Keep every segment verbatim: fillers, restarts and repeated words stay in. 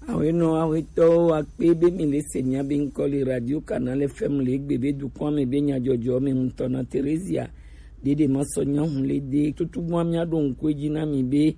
Awenɔ awetɔwo akpe be mi le se mia be ŋkɔ le Radio Canal F M le egbe be dukɔa me be nyajɔjɔ me ŋutɔ na Theresia. Dede ma sɔ nyahun le de tutugbɔa mia ɖo ŋku edzi na mi be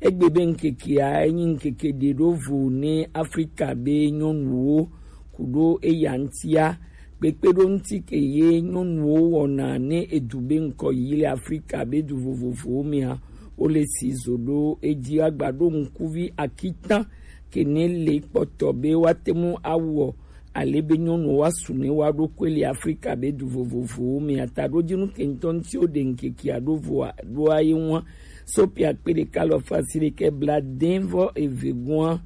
egbe be ŋkekea enyi ŋkeke ɖe ɖo vo ne Afrika be nyɔnuwo ku ɖo eya ŋtia. Kpekpeɖoŋuti ke ye nyɔnuwo wɔna ne edu be ŋkɔ yi le Afrika be du vovovowo mea, wo le si zo ɖo edzi agba ɖo ŋkuvi akitan ke ne le kpɔtɔ be woate ŋu awɔ ale be nyɔnuwo asu ne woa ɖokui le Afrika be du vovovowo mea. Taɖodzinu ke ŋutɔ ŋuti wo ɖe ŋkekea ɖo voa ɖoa ye ŋua. Sopia kpe ɖeka lɔ fasi ɖeke bla dɛn vɔ eve gua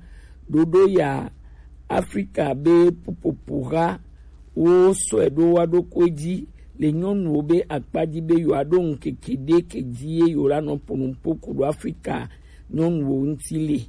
ɖoɖo ya Afrika be pupopo ha wo sɔe ɖo wa ɖokui dzi le nyɔnuwo be akpa dzi be yewoa ɖo ŋkeke ɖe ke dzi ye yewo la nɔ ponupo ku ɖo Afrika nyɔnuwo ŋuti le.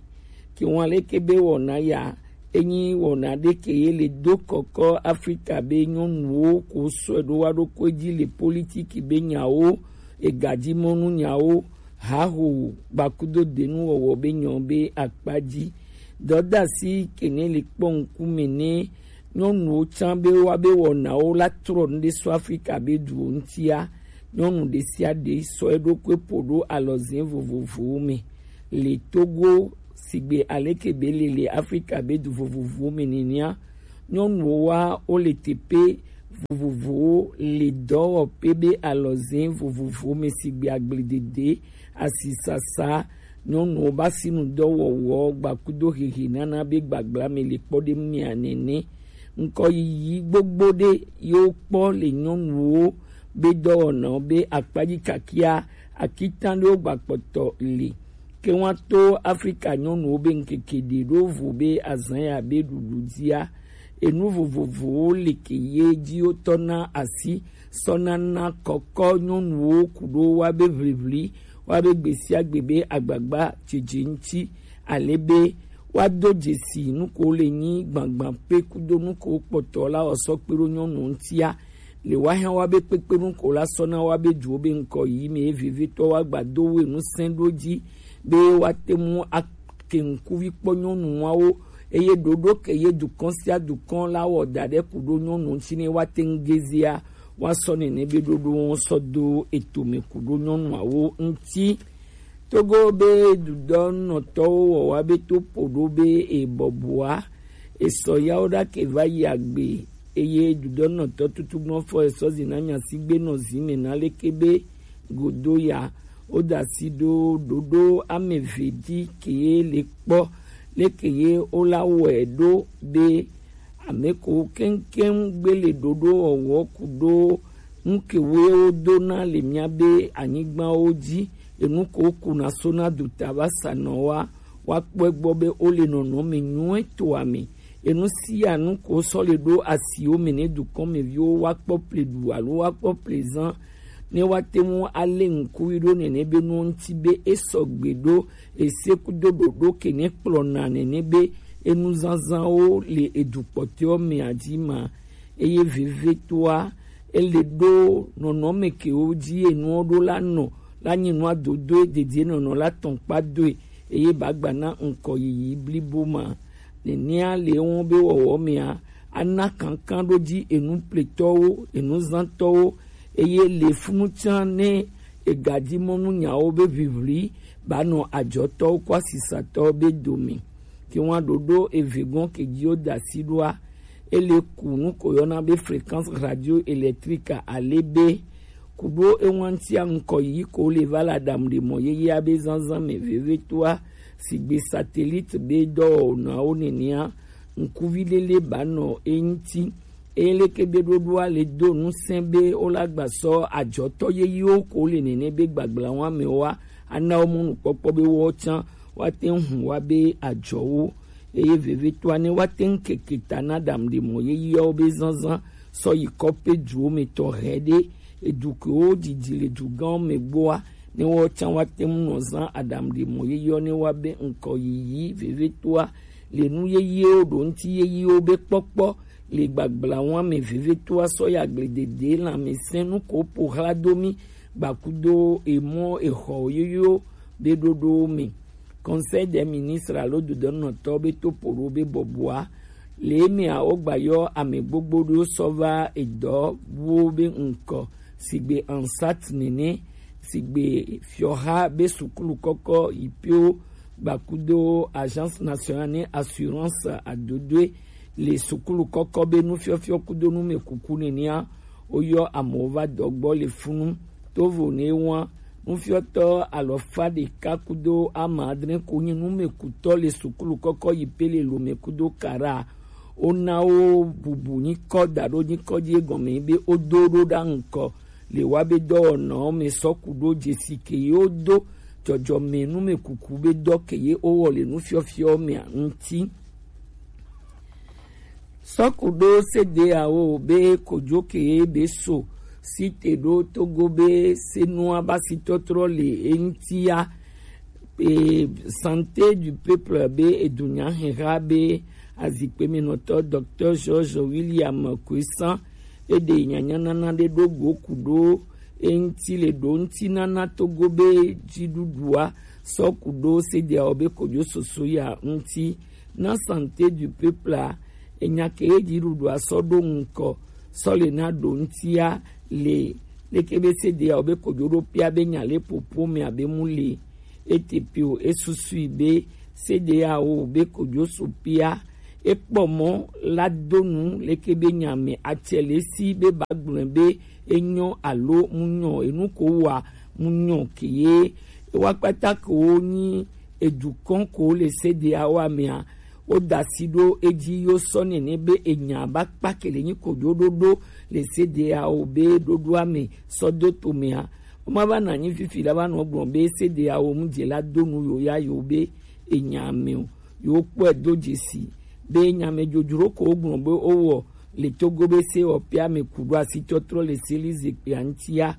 Ke ŋua leke be wɔna ya enyi wɔna ɖe ke ye le do kɔkɔ Afrika be nyɔnuwo ko sɔe ɖo wa ɖokui dzi le politiki be nyawo, egadzimɔnu nyawo, haho gbakudo denu wɔwɔ be nyɔ be akpa dzi. Dɔdasi ke ne le kpɔ ŋkume ne nyɔnuwo tsã be wa be wɔnawo la trɔ nu ɖe sɔ Afrika be duwo ŋutia. Nyɔnu ɖe sia ɖe sɔ eɖokui po ɖo alɔzɛ vovovowo me. Le Togo sigbe aleke be le le Afrika be du vovovowo me nenea, nyɔnuwo wa wo le teƒe vovovowo le dɔwɔƒe be alɔzɛ vovovowo me sigbe agbledede, asisasa, nyɔnuwo ba sinu dɔwɔwɔ, gbakudo hehe nana be gbagbla me le kpɔ ɖe mia nene. Ŋkɔ yiyi gbogbo ɖe yewo kpɔ le nyɔnuwo be dɔwɔnawo be akpadzi kakia akitan ɖewo gbakpɔtɔ le. Ke ŋua to Afrika nyɔnuwo be ŋkeke ɖe ɖo vo be azã ya be ɖuɖu dzia, enu vovovowo le ke ye dzi wotɔ na asi sɔ nana kɔkɔ nyɔnuwo ku ɖo wa be ʋliʋli, wa be gbe sia gbe be agbagba dzedze ŋuti, ale be wa do dzesi nu ko le nyi gbagba pe kudo nu ko kpɔtɔ la wɔ sɔ kpe ɖo nyɔnu ŋutia. Le wa hã wa be kpekpe nu ko la sɔ na wa be duwo be ŋkɔ yi me ye vevietɔ wa gba do we nu sɛn ɖo dzi be wa te mu ake ŋkuvi kpɔ nyɔnuawo, eye ɖoɖo ke ye dukɔn sia dukɔn la wɔ da ɖe ku ɖo nyɔnu ŋuti ne wa te ŋu gezea, wa sɔ nene be ɖoɖo ŋu sɔ do etome ku ɖo nyɔnuawo ŋuti. Togo be dudɔnɔtɔwo wɔ wa be to ƒo ɖo be ebɔbɔa esɔ yawo ɖake va yi agbe, eye dudɔnɔtɔ tutugbɔfɔ esɔ zi na nya si gbe nɔ zi me na leke be godo ya wo da asi ɖo ɖoɖo ame eve ɖi ke ye le kpɔ leke ye wo la wɔe ɖo be ame ko keŋkeŋ gbe le ɖoɖo wɔwɔ ku ɖo nu ke woe wodo na le mía be anyigbawo dzi, enu ko wokuna so na duta va sanɔ wa, woakpɔ egbɔ be wole nɔnɔme nyuietɔa me. Enu sia nu ko sɔ le ɖo asiwo me ne dukɔmeviwo woakpɔ pleɖu alo woakpɔ plezã, ne woate ŋu alé ŋkuvi ɖo nene be nuwo ŋuti be esɔgbe ɖo ese kudo ɖoɖo ke ne kplɔna nene be enuzazãwo le edu kpɔtɔewo mea dzi ma. Eye vevetoa, ele ɖo nɔnɔme kewo dzi enuwo ɖo la nɔ la nyi nua dodoe dedienɔnɔ la tɔn kpa doe, eye bagba na ŋkɔ yiyi blibo ma. Nenea le ewo be wɔwɔ mea, ana kankan ɖo dzi enu pletɔwo, enuzãtɔwo, eye le funu tsã ne egadzi mɔnu nyawo be ʋiʋli ba nɔ adzɔtɔwo kɔ asisatɔwo be dome. Ke ŋua ɖoɖo eve gɔn ke dzi wo da asi ɖoa, ele ku nu ko yɔna be fréquence radio électrique ale be ku ɖo eŋua ŋutia ŋkɔ yi ko le va le aɖaŋu ɖe mɔ yeyea be zazã me vevetoa, sigbe satellite be dɔwɔnawo nenea, ŋkuvi lele ba nɔ eŋuti. Eye leke be ɖoɖoa le do ŋusẽ be wola gba sɔ adzɔtɔ yeyewo ko le nene be gbagblã wa me wa, ana wo mɔnukpɔkpɔ be wo tsã woate ŋu hu wa be adzɔwo. Eye vevitoa ne woate ŋu keke ta na ɖaŋu ɖe mɔ yeyeawo be zazã sɔ yi kɔƒe duwo me tɔ hɛ ɖe, edu kewo didi le dugãwo me gbɔa, ne wo tsã woate ŋu nɔ zã aɖaŋu ɖe mɔ yeyeawo ne wa be ŋkɔ yiyi vevitoa le nu yeyewo ɖo ŋuti yeyewo be kpɔkpɔ le gbagblã wa me vevitoa sɔ ya agbledede lãmesẽ nu ko po hla do mi gbakudo emɔ exɔ yoyo be ɖoɖowo me. Conseil des ministres alo dodoenɔtɔ be to ƒo ɖo be bɔbɔa, le emea wogba yɔ ame gbogbo ɖewo sɔ va edɔwuwo be ŋkɔ, sigbe ANSAT nene, sigbe fiɔha be sukulu kɔkɔ yipewo gbakudo Agence Nationale ne Assurance adodoe le sukulu kɔkɔ be nufiɔfiɔ kudo numekuku nenea, woyɔ amewo va dɔ gbɔ le funu. Tovo ne wa nufiɔtɔ alɔfa ɖeka kudo ama adre ko nyi numekutɔ le sukulu kɔkɔ yipe le Lome kudo Kara. Wona wo bubu nyikɔ da ɖo nyikɔ dzi egɔme be wodo ɖo ɖa ŋkɔ le wa be dɔwɔnɔwo me sɔ ku ɖo dzesi ke ye wodo dzɔdzɔme numekuku be dɔ ke ye wowɔ le nufiɔfiɔ mea ŋuti. Sɔkuɖo sedeawo be kojoke be so site ɖo Togo be senua ba si tɔtrɔ le eŋtia. E, Santé du Peuple be edunya heha be azikpemenɔtɔ Docteur Georges William Kuisan eɖe nyanyanana ɖe ɖo go ku ɖo eŋti le ɖo ŋti nana Togo be dziɖuɖua sɔkuɖo sedeawo be kojo soso ya ŋti. Na Santé du Peuple a, enya ke ye dziɖuɖua sɔ ɖo ŋkɔ sɔ le na ɖo ŋtia le leke be sedeawo be kojo ɖo pia be nya le popo me abe mu le ete pe o, esusui be sedeawo be kojo so pia ekpɔ mɔ la do nu leke be nya me atsɛ le si be ba gblɔe be enyɔ alo mu nyɔ, enu ko wa mu nyɔ ke ye ewa kpata ko wo nyi edukɔn ko le sedeawo amea. Woda asi ɖo edzi yo sɔ nene be enya ba kpa ke le nyi kojo ɖoɖo le sedeawo be ɖoɖoa me sɔ do to mea. Woma va na nyi fifi la va nɔ gblɔ be sedeawo mu dze la do nu yo ya yo be enya me o. Yo kpɔe do dzesi be nya me dzodzro ko wo gblɔ be wowɔ le Togo be se wɔ pia me ku ɖo asi tɔtrɔ le seli zikpia ŋtia.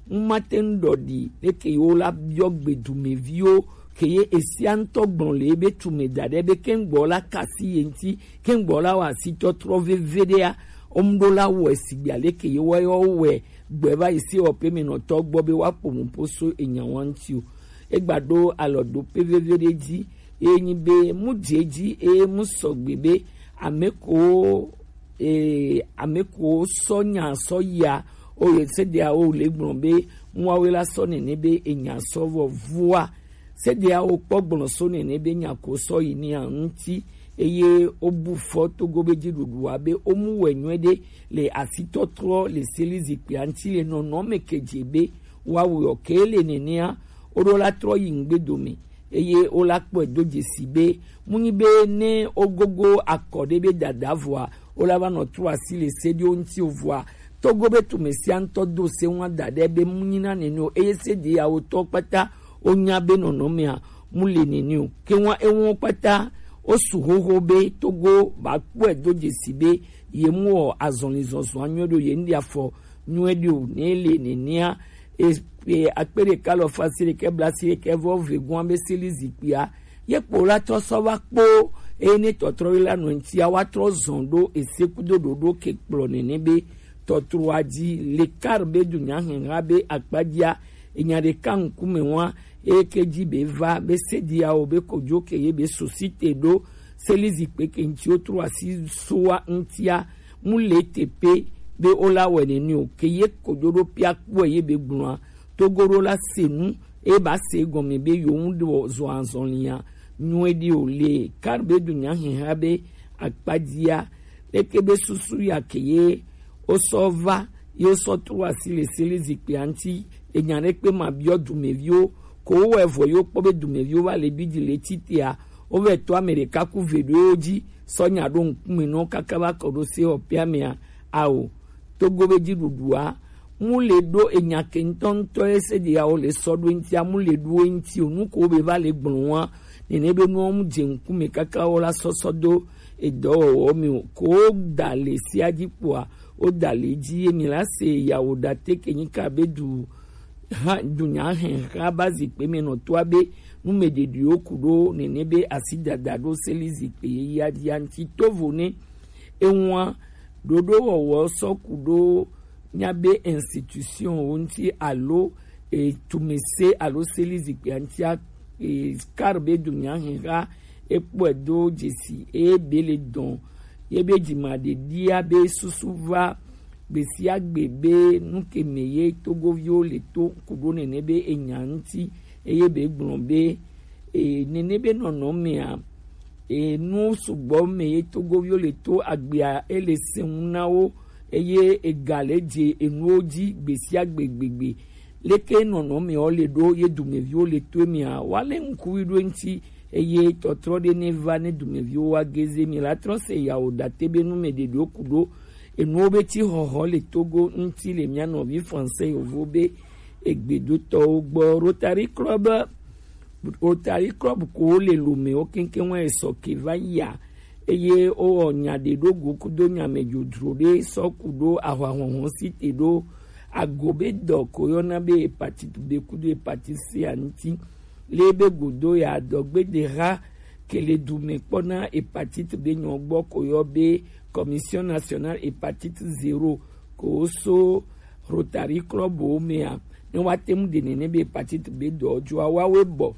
Ŋu mate ŋu ɖɔ ɖi leke yewo la biɔ gbedumeviwo ke ye esia ŋutɔ gblɔ le ebe tume da ɖe be keŋgbɔ la kasi ye ŋuti, keŋgbɔ la wɔ asi tɔtrɔ veve ɖea, wo mu ɖo la wɔe sigbe aleke yewo yɔ wɔe gbe va yi sewɔƒe me nɔtɔ gbɔ be woaƒo mu ƒo so enya wa ŋuti o. Egba ɖo alɔ ɖo pe veve ɖe dzi eye nyi be mu dze dzi eye mu sɔgbe be ame ko ee, ame ko sɔ nya sɔ yia o ye sedeawo le gblɔ be muawe la sɔ nene be enya sɔ vɔ vua. Sedeawo kpɔ gblɔ so nene be nya ko sɔ yi nia ŋuti eye wobu fɔ Togo be dziɖuɖua be womu wɛ nyuie ɖe le asitɔtrɔ le seli zikpuia ŋuti le nɔnɔme ke dze be woawu yɔ ke le nenea woɖo la trɔ yi ŋgbe dome eye wola kpɔe do dzesi be munyi be ne wogogo akɔ ɖe be dada vɔa wola va nɔ trɔ asi le se ɖewo ŋuti o vɔa Togo be tume sia ŋutɔ do se ŋua da ɖe be munyi na nene o eye se ɖe yawo tɔ kpata wonya be nɔnɔmea mu le nene o ke ŋua eŋuwo kpata wosu xoxo be Togo ba kpɔe do dzesi be ye mu wɔ azɔli zɔzɔa nyuie ɖo ye ŋɖi afɔ nyuie ɖi o ne le nenea e, e, akpe ɖeka lɔ fa si ɖekɛ bla si ɖekɛ vɔ ve gɔa be seli zikpuia ye kpo la tɔ sɔ va kpo eye ne tɔtrɔ yi la nɔ ŋutia wa trɔ zɔn ɖo ese kudo ɖoɖo ke kplɔ nene be tɔtrɔa dzi le kar be dunya hɛha be akpadzia enya ɖeka ŋkume wa eye ke dzi be va be sediawo be kodzo ke ye be sosite ɖo seli zikpe ke ŋuti wo trɔ asi soa ŋutia mu le te pe be wola wɛ nene o ke ye kodzo ɖo pia kpɔe ye be gblɔa Togo ɖo la se nu eye ba se egɔme be yewo ŋu ɖo zɔ azɔlia nyuie ɖi o le kar be dunya hɛha be akpadzia leke be susu ya ke ye wosɔ va ye wosɔ trɔ asi le seli zikpuia ŋuti enya ɖe kpe ma biɔ dumeviwo ko wowɔe vɔ yewo kpɔ be dumeviwo va le bidi le titea wovɛ tɔ ame ɖeka ku ve ɖo yewo dzi sɔ nya ɖo ŋkume nɔ kaka va kɔ ɖo se ɔpea mea ao Togo be dziɖuɖua mu le ɖo enya ke ŋutɔŋutɔ ye se ɖe yawo le sɔ ɖo ŋutia mu le ɖo ŋuti o nu ko be va le gblɔ wa nene be nuwo mu dze ŋkume kaka wo la sɔsɔ do edɔwɔwɔ mi o ko da le sia dzi kpoa wo da le dzi ye mi la se yawo da te ke nyika be du ha dunya hɛha ba zikpe me nɔ toa be nu me ɖeɖiwo ku ɖo nene be asi dada ɖo seli zikpe ye ya dzi anti tovo ne eŋua ɖoɖowɔwɔ sɔ ku ɖo míabe institution wo ŋuti alo etumese alo seli zikpuia ŋutia e, kar be du nya hɛn xa, e kpɔe do jesi e be le dɔn ye be jima ɖe ɖia be susu va gbesiagbe be nu ke me ye Togoviwo le to ku ɖo nene be enya ŋuti, eye be gblɔ be, e, nene be nɔnɔ mea, e, nu sugbɔ me ye Togoviwo le to agbea e le sɛn ŋu na wo, eye ega le dze enuwo dzi gbesiagbe gbegbe. Leke nɔnɔmewo le ɖo ye dumeviwo le to emea, woalé ŋkuvi ɖo eŋuti, eye tɔtrɔ ɖe ne va ne dumeviwo wa geze. Mi la trɔ se yawo date be nu me ɖeɖewo ku ɖo enuwo be ti xɔxɔ le Togo ŋuti le mia nɔvi français yovo be egbedotɔwo gbɔ. Rotary Club, Rotary Club ko le Lomé wo keŋkeŋ wa esɔ ke va yia, eye wowɔ nya ɖe ɖo go kudo nya me dzodzro ɖe sɔ ku ɖo ahwahɔhɔ si te ɖo ago be dɔ ko yɔna be hepatite B kudo hepatite C a ŋuti. Le be godo ya dɔgbedeha ke le du me kpɔ na hepatite B nyɔ gbɔ ko yɔ be Commission Nationale Hepatite Zéro ko so Rotary Club wo mea, ne wa te ŋu ɖe nene be hepatite B dɔ joa wa we bɔ.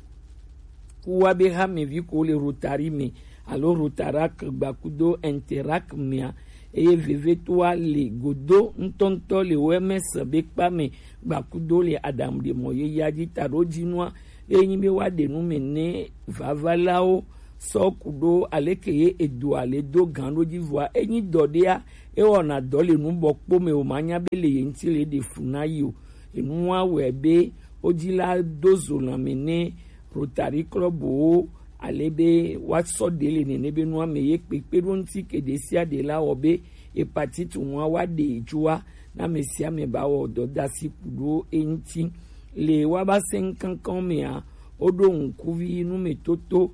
Ku wa be ha me vi ko le Rotary me, alo Rotarac gbakudo Interac mea, eye veve to wa le godo ŋutɔŋutɔ le O M S be kpa me gbakudo le aɖaŋu ɖe mɔ ye ya dzi ta ɖo dzi nua, eye nyi be wa ɖe nu me ne vavalawo sɔ ku ɖo aleke ye edoa le do gan ɖo dzi vɔa, enyi dɔ ɖea, ewɔna dɔ le nu bɔ kpo me o ma nya be le ye ŋuti le ɖe fu na yi o. Enua wɔe be wo dzi la do zo lãme ne Rotary Club wo, ale be woasɔ ɖe le nene be nua me ye kpekpe ɖo ŋuti ke ɖe sia ɖe la wɔ be hepatite ŋua wa ɖe joa na ame sia ame ba wɔ dɔdasi ku ɖo eŋuti. Le wa ba se ŋkankan mea, woɖo ŋkuvi nu me toto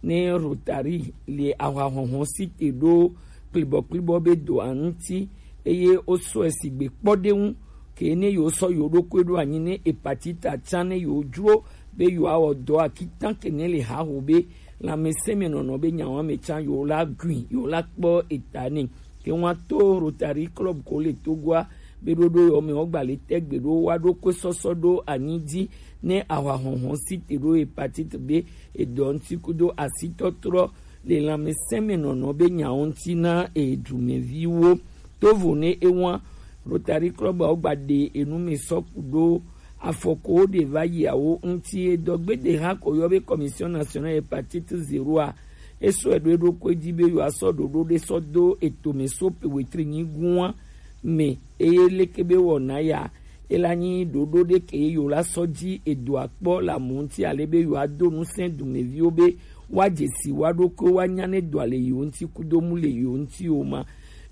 ne Rotary le ahwahɔhɔ si te ɖo kplibɔkplibɔ be doa ŋuti, eye wosɔe sigbe kpɔɖeŋu ke ne yewo sɔ yewo ɖokui ɖo anyi ne hepatite tsã ne yewo dzro be yewoawɔ dɔ akitan ke ne le haho be lãmesẽ me nɔnɔ be nyawo ame tsã yewo la gui, yewo la kpɔ eta nɛ. Ke ŋua to Rotary Club ko le Togoa be ɖoɖo yewo me wogba le tɛgbe ɖo wa ɖokui sɔsɔ ɖo anyi dzi ne ahwahɔhɔ si te ɖo hepatite B edɔ ŋuti kudo asitɔtrɔ le lãmesẽ me nɔnɔ be nyawo ŋuti na edumeviwo. Tovo ne ewa Rotary Club wo gba ɖe enu me sɔ ku ɖo afɔko ɖe va yi awo ŋuti edɔ gbede ha ko yɔ be Commission Nationale Hepatite Zéro a, esɔ eɖo eɖokui dzi be yewoasɔ ɖoɖo ɖe sɔ do etome so pe wetri nyi gua me, eye leke be wɔna ya, ela nyi ɖoɖo ɖe ke yewo la sɔ dzi edoa kpɔ le amewo ŋuti ale be yewoado ŋusẽ dumeviwo be woadze si woa ɖokui woanya ne dɔa le yewo ŋuti kudo mu le yewo ŋuti o ma.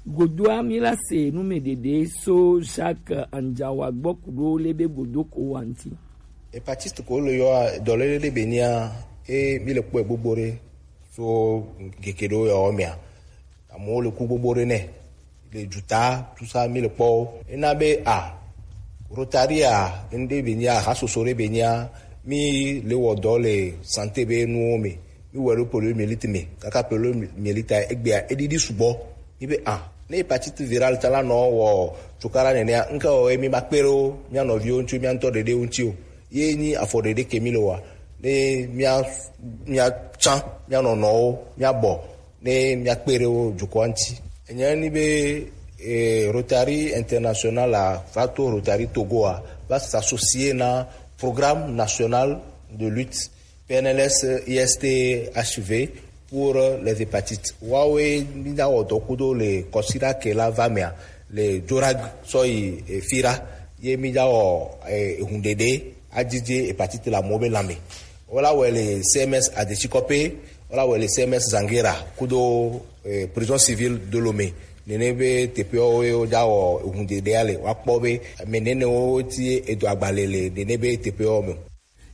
Godoa mi la se nu me ɖeɖe so Jacques Anjawa gbɔ ku ɖo le be godo ko wa ŋuti. Hepatite ko le yɔ dɔlele ɖe be nia e mi le kpɔe gbogbo ɖe so geke ɖo yɔ mea. Amewo le ku gbogbo ɖe nɛ le juta tusa mi le kpɔ wo. Ena be a Rotary a ŋɖe be nya ha soso ɖe be nya mi le wɔ dɔ le santé be nuwo me. Mi wɔ ɖo polo mielite me kaka polo mielite egbea eɖiɖi sugbɔ. Mi be a ne hepatite virale ta la nɔ wɔ tsokara nenea ŋke wɔ mi ma kpe ɖo mia nɔviwo ŋuti mia ŋutɔ ɖeɖe ŋuti o. Ye nyi afɔ ɖeɖe ke mi le wa ne mia mia tsan mia nɔnɔwo mia bɔ ne míakpe ɖe wo dukɔa ŋuti. Enye ni be eh, Rotary International a va to Rotary Togo a va s'associer na programme national de lutte P N L S I S T H V pour les hépatites. Wawe mi da wɔ dɔ kudo le kɔsira ke la va mea le Jorag sɔ yi eh, Fira ye mi da wɔ eh, ehun ɖeɖe adzidze hépatite la mo be lame. Wola wɔe le C M S Adetsikɔpe, wola wɔe le C M S Zangera kudo eh, prison civil de Lomé. Nene be teƒewo ye wodza wɔ ehunɖeɖea le woakpɔ be ame nenewo ti edo agbalẽ le nene be teƒewo me.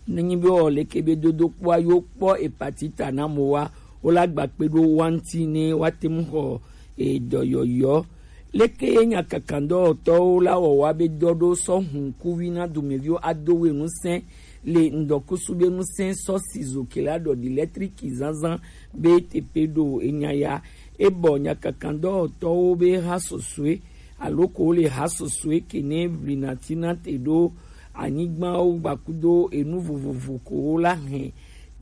Nenyi be wɔ leke be dodokpɔa yewo kpɔ hepatite na mowa, wola gba kpe ɖo wa ŋuti ne woate ŋu xɔ edɔyɔyɔ. Leke ye nyakakandɔwɔtɔwo la wɔwɔ be dɔ ɖo sɔ hun kuvi na dumeviwo ado we ŋusẽ le ŋdɔkusu be ŋusẽ sɔ si zo ke la ɖɔ di lɛtriki zazã be teƒe ɖo enya ya. Ebɔ nyakakandɔwɔtɔwo be ha sɔsɔe alo ko le ha sɔsɔe ke ne vlina tina te ɖo anyigbawo gbakudo enu vovovo ko la hɛn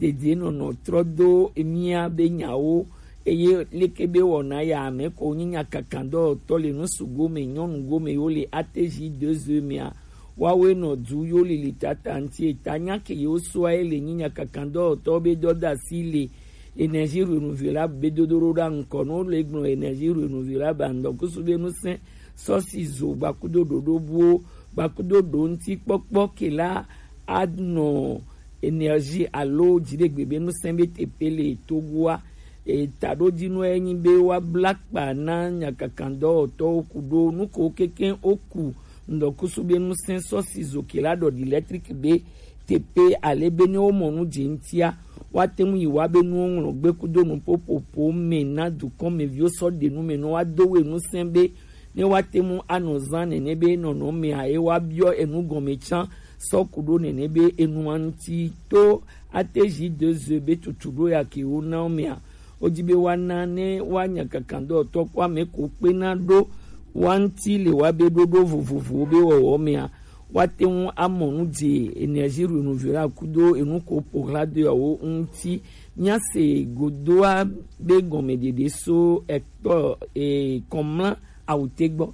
dedienɔnɔ trɔ do emia be nyawo, eye leke be wɔna ya ame ko nyi nyakakandɔwɔtɔ le nusugo me nyɔnugo me yo le A T J deux E mea, wawe nɔ du yo lili tata ŋti eta nya ke yewo soa ye le nyi nyakakandɔwɔtɔ be dɔdasi le énergie renouvelable be dodo ɖo ɖa ŋkɔ no le gblɔ énergie renouvelable andɔ kusu be nusɛn sɔsi zo gbakudo ɖoɖo buwo gbakudo ɖo ŋti kpɔkpɔ ke la anɔ énergie alo dziɖegbe be nusɛn be teƒe le Togoa. Eta ɖo dzi nua enyi be woabla kpa na nyakakandɔwɔtɔwo ku ɖo nuko keke woku ŋdɔkusu be nusɛn sɔsi zo ke la ɖɔ di électrique be teƒe ale be ne womɔ nu dze ŋtia, woate ŋu yi wa be nuwo ŋlɔ gbe kudo nuƒoƒoƒo me na dukɔmeviwo sɔ ɖe nu me nɔ woado we nusɛn be ne woate ŋu anɔ zã nene be nɔnɔmea ye woabiɔ enu gɔme tsã sɔ ku ɖo nene be enua ŋuti to A T J deux E be tutu ɖo ya ke wona wo mea, wodi be woana ne woanya kakandɔtɔ kpɔ ame ko kpena ɖo wa ŋuti le woabe ɖoɖo vovovowo be wɔwɔ mea, woate ŋu amɔ nu dze énergie renouvelable kudo enu ko ƒo ɣla do yawo ŋuti. Míase godoa be gɔmeɖeɖe so ekpɔ e, kɔmla awute gbɔ.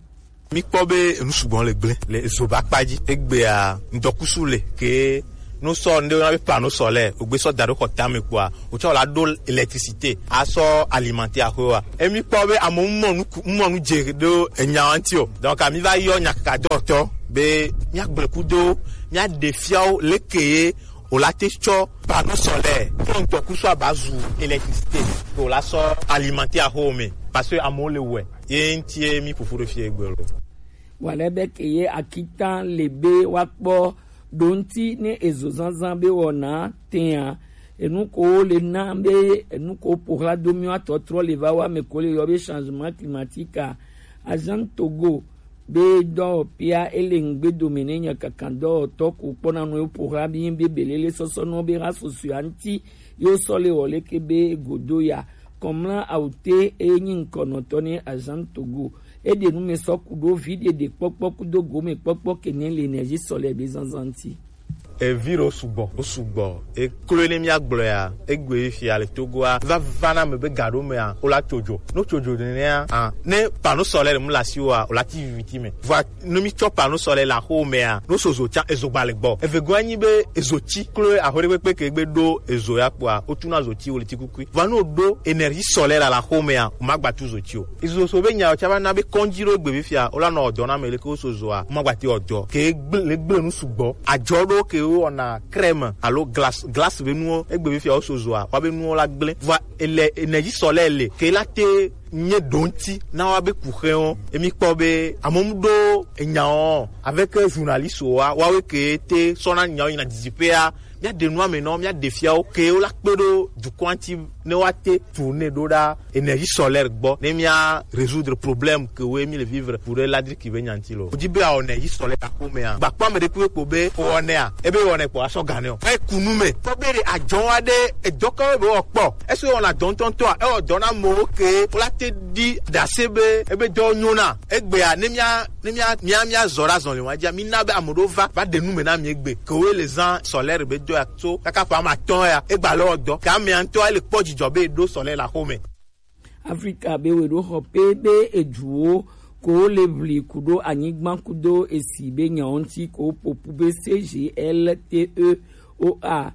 Míkpɔ be enu sugbɔ le gblẽ le ezo be akpa dzi. Egbea ŋdɔkusu le ke no sɔ ŋɖe wona be panneau solaire, wogbe sɔ da ɖo xɔ tame kpoa, wotsɔ la ɖo électricité asɔ alimenter axɔe wa. Emi kpɔ be amewo mɔ nu ku- mɔ nu dze ɖo enya ŋuti o. Donc ami va yɔ nyakakadɔtɔ be míagblẽ kudo míaɖe fiawo leke ye wòla te tsɔ panneau solaire kple ŋdɔkusu aba zu électricité ke wòla sɔ alimenter axɔewo me parce que amewo le wɔe ye ŋutie mi ƒoƒu ɖe fie egbe lo. Wale be ke ye akitan le be woakpɔ ɖo ŋuti ne ezo zazã be wɔna tea enu ko le na be enu ko ƒo ɣla do míwo atɔtrɔ le va wa me ko le yɔ be changement climatique a. Agent Togo be dɔwɔƒea ele ŋgbe dome ne nyakakandɔwɔtɔ ko kpɔna nɔ yewo ƒo ɣla be be belele sɔsɔ nɔ be ha susua ŋuti yewo sɔ le wɔ leke be godo ya. Kɔmla awute eye nyi ŋkɔnɔtɔ ne Agent Togo. Eɖe nu me sɔ ku ɖo vi ɖeɖe kpɔkpɔ kudo gome kpɔkpɔ ke ne le énergie solaire be zazã ŋuti. Evi ɖewo sugbɔ, wo sugbɔ. Eklo ne míagblɔe ya, egbe fia le Togoa, va va na me be ga ɖo mea, wola tso dzo. Ne wotso dzo nenea, ah, ne panneau solaire mu le asiwòa, wola ti viviti me. Vɔa ne mítsɔ panneau solaire le axɔwo mea, ne woso zo tsã, ezo gba le gbɔ. Evegoa nyi be ezo tsi klo axɔ ɖe kpekpe ke gbe ɖo ezo ya kpoa, wotuna zo tsi wo le tsi kukui. Vɔa ne woɖo énergie solaire le axɔwo mea, womagba tu zo tsi o. Ezo so be nyawo tsã va na be kɔndzi ɖo egbe fia, wola nɔ wɔ dɔ na ame leke woso zoa, womagba te wɔ dɔ. Ke gble gble nu sugbɔ. Adzɔ ɖo ke wowɔna crème alo glace, glace be nuwo egbe fia woso zoa, woabe nuwo la gblẽ. Vɔa ele énergie solaire le ke la te nye ɖo ŋuti na woabe kuxewo. Emi kpɔ be amewo mu ɖo enyawo avec journaliste wa, woawe ke te sɔna nyawo yina didiƒea. Míaɖe nua me nɔ, míaɖe fiawo ke wola kpe ɖo dukɔa ŋuti ne woate tourner ɖo ɖa énergie solaire gbɔ ne mía résoudre problème ke woe mi le vivre pour ladriki be nyanti lo. Wodi be awɔ énergie solaire axomea. Gbakpɔ ame ɖe kpekpe kpo be wɔnɛa, ebe wɔnɛ kpɔ asɔ ganɛ o. Eku nu me. Kpɔ be ɖe adzɔ wa ɖe edɔkawo be wɔkpɔ. Esi wɔna dɔ ŋutɔŋutɔa, ewɔ dɔ na amewo ke wola te ɖi ɖase be ebe dɔ nyona. Egbea ne mía ne mía mía mía zɔ ɖe azɔli wa dzia, mi na be ame ɖewo va va ɖe nu me na mi egbe. Ke wo le zã solaire be dɔ ya tso kaka ƒe ame atɔ̃ ya, egba le wɔ dɔ. Ke amea ŋutɔ ele kpɔ dzidzɔ be eɖo solaire le axome. Afrika be weɖoxɔ pe be eduwo ko le ʋli ku ɖo anyigba kudo esi be nyawo ŋuti ko ƒoƒu be C G L T E O A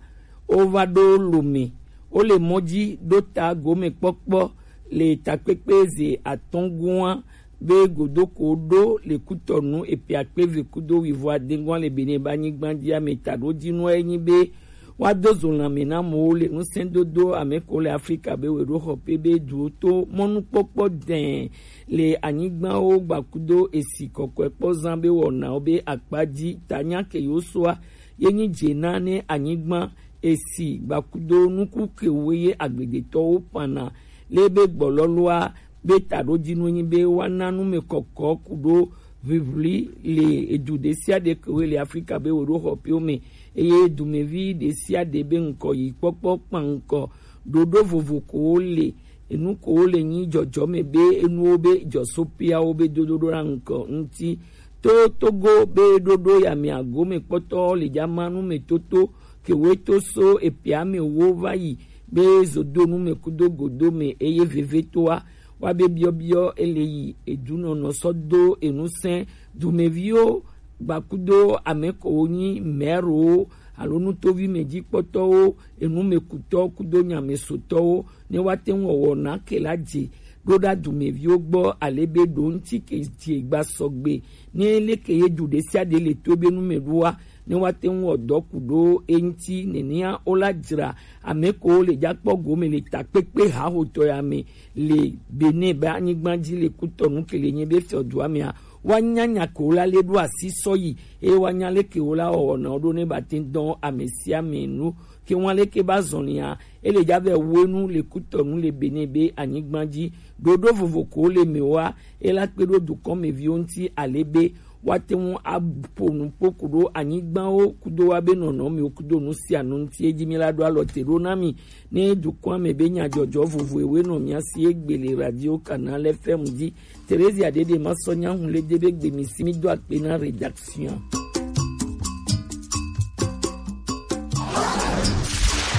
wova ɖo lome. Wole mɔ dzi ɖo ta gomekpɔkpɔ le takpekpe ze atɔ̃ gua be godoko ɖo le Kutɔnu eƒe akpe eve kudo wuivo ade gua le Benin be anyigba dzi ame taɖodzinua enyi be woado zo lãme na amewo le ŋusẽdodo ame ko le Afrika be weɖoxɔ pe be duwo to mɔnukpɔkpɔ dɛ̃ le anyigbawo gbakudo esi kɔkɔekpɔzã be wɔnawo be akpa dzi tanya ke yewo soa ye nyi dze na ne anyigba esi gbakudo nuku kewo ye agbledetɔwo ƒãna le be gbɔlɔlɔa be taɖodzinue nyi be woana numekɔkɔ ku ɖo ʋiʋli le edu ɖe sia ɖe kewoe le Afrika be weɖoxɔƒewo me eye dumevi ɖe sia ɖe be ŋkɔ yi kpɔkpɔ kpa ŋkɔ ɖoɖo vovo kowo le enu kowo le nyi dzɔdzɔme be enuwo be dzɔsoƒeawo be dodoɖo na ŋkɔ ŋuti. To Togo be ɖoɖo ya mea gome kpɔtɔ le dzama nu me toto Kewe to so epia me wo va yi be zodonu me kudo godo me eye veve to wa. Wa be biɔbiɔ ele yi edunɔnɔ sɔ do enu sɛn dumeviwo gbakudo ame ko wo nyi mɛrowo alo nutovi me jikpɔtɔwo, enumekutɔ kudo nyamesotɔwo ne wa te ŋu wɔwɔ na ke la je ɖo ɖa dumeviwo gbɔ ale be ɖo ŋuti ke je gba sɔgbe ne leke ye du ɖe sia ɖe le to ebe nu me ɖo wa ne wa te ŋu wɔ dɔ ku ɖo eŋuti nenea wo la dzra ame ko le jakpɔ gome le takpekpe hahotɔ ya me le Benin be anyigba dzi le kutɔnu ke le nye be fiɔdua mea wa nya nya ke wo la le ɖo asi sɔ yi eye wa nya leke wo la wɔwɔ na wo ɖo ne ba te dɔn ame sia ame nu ke wa leke ba zɔn lia ele ja vɛ wo enu le kutɔnu le Benin be anyigba dzi ɖoɖo vovo ko le me wa ela kpe ɖo dukɔ me viwo ŋuti ale be wa te ŋu aƒo nu kpo ku ɖo anyigbawo kudo wa be nɔnɔmewo kudo nu sia nu ŋuti edzi mi la ɖo alɔ te ɖo na mi ne dukɔa me be nyadzɔdzɔ vovo ewe nɔ mia si egbe le radio Canal F M dzi. Theresia ɖeɖe ma sɔ nya hu le de be gbe mi si mi do akpe na rédaction.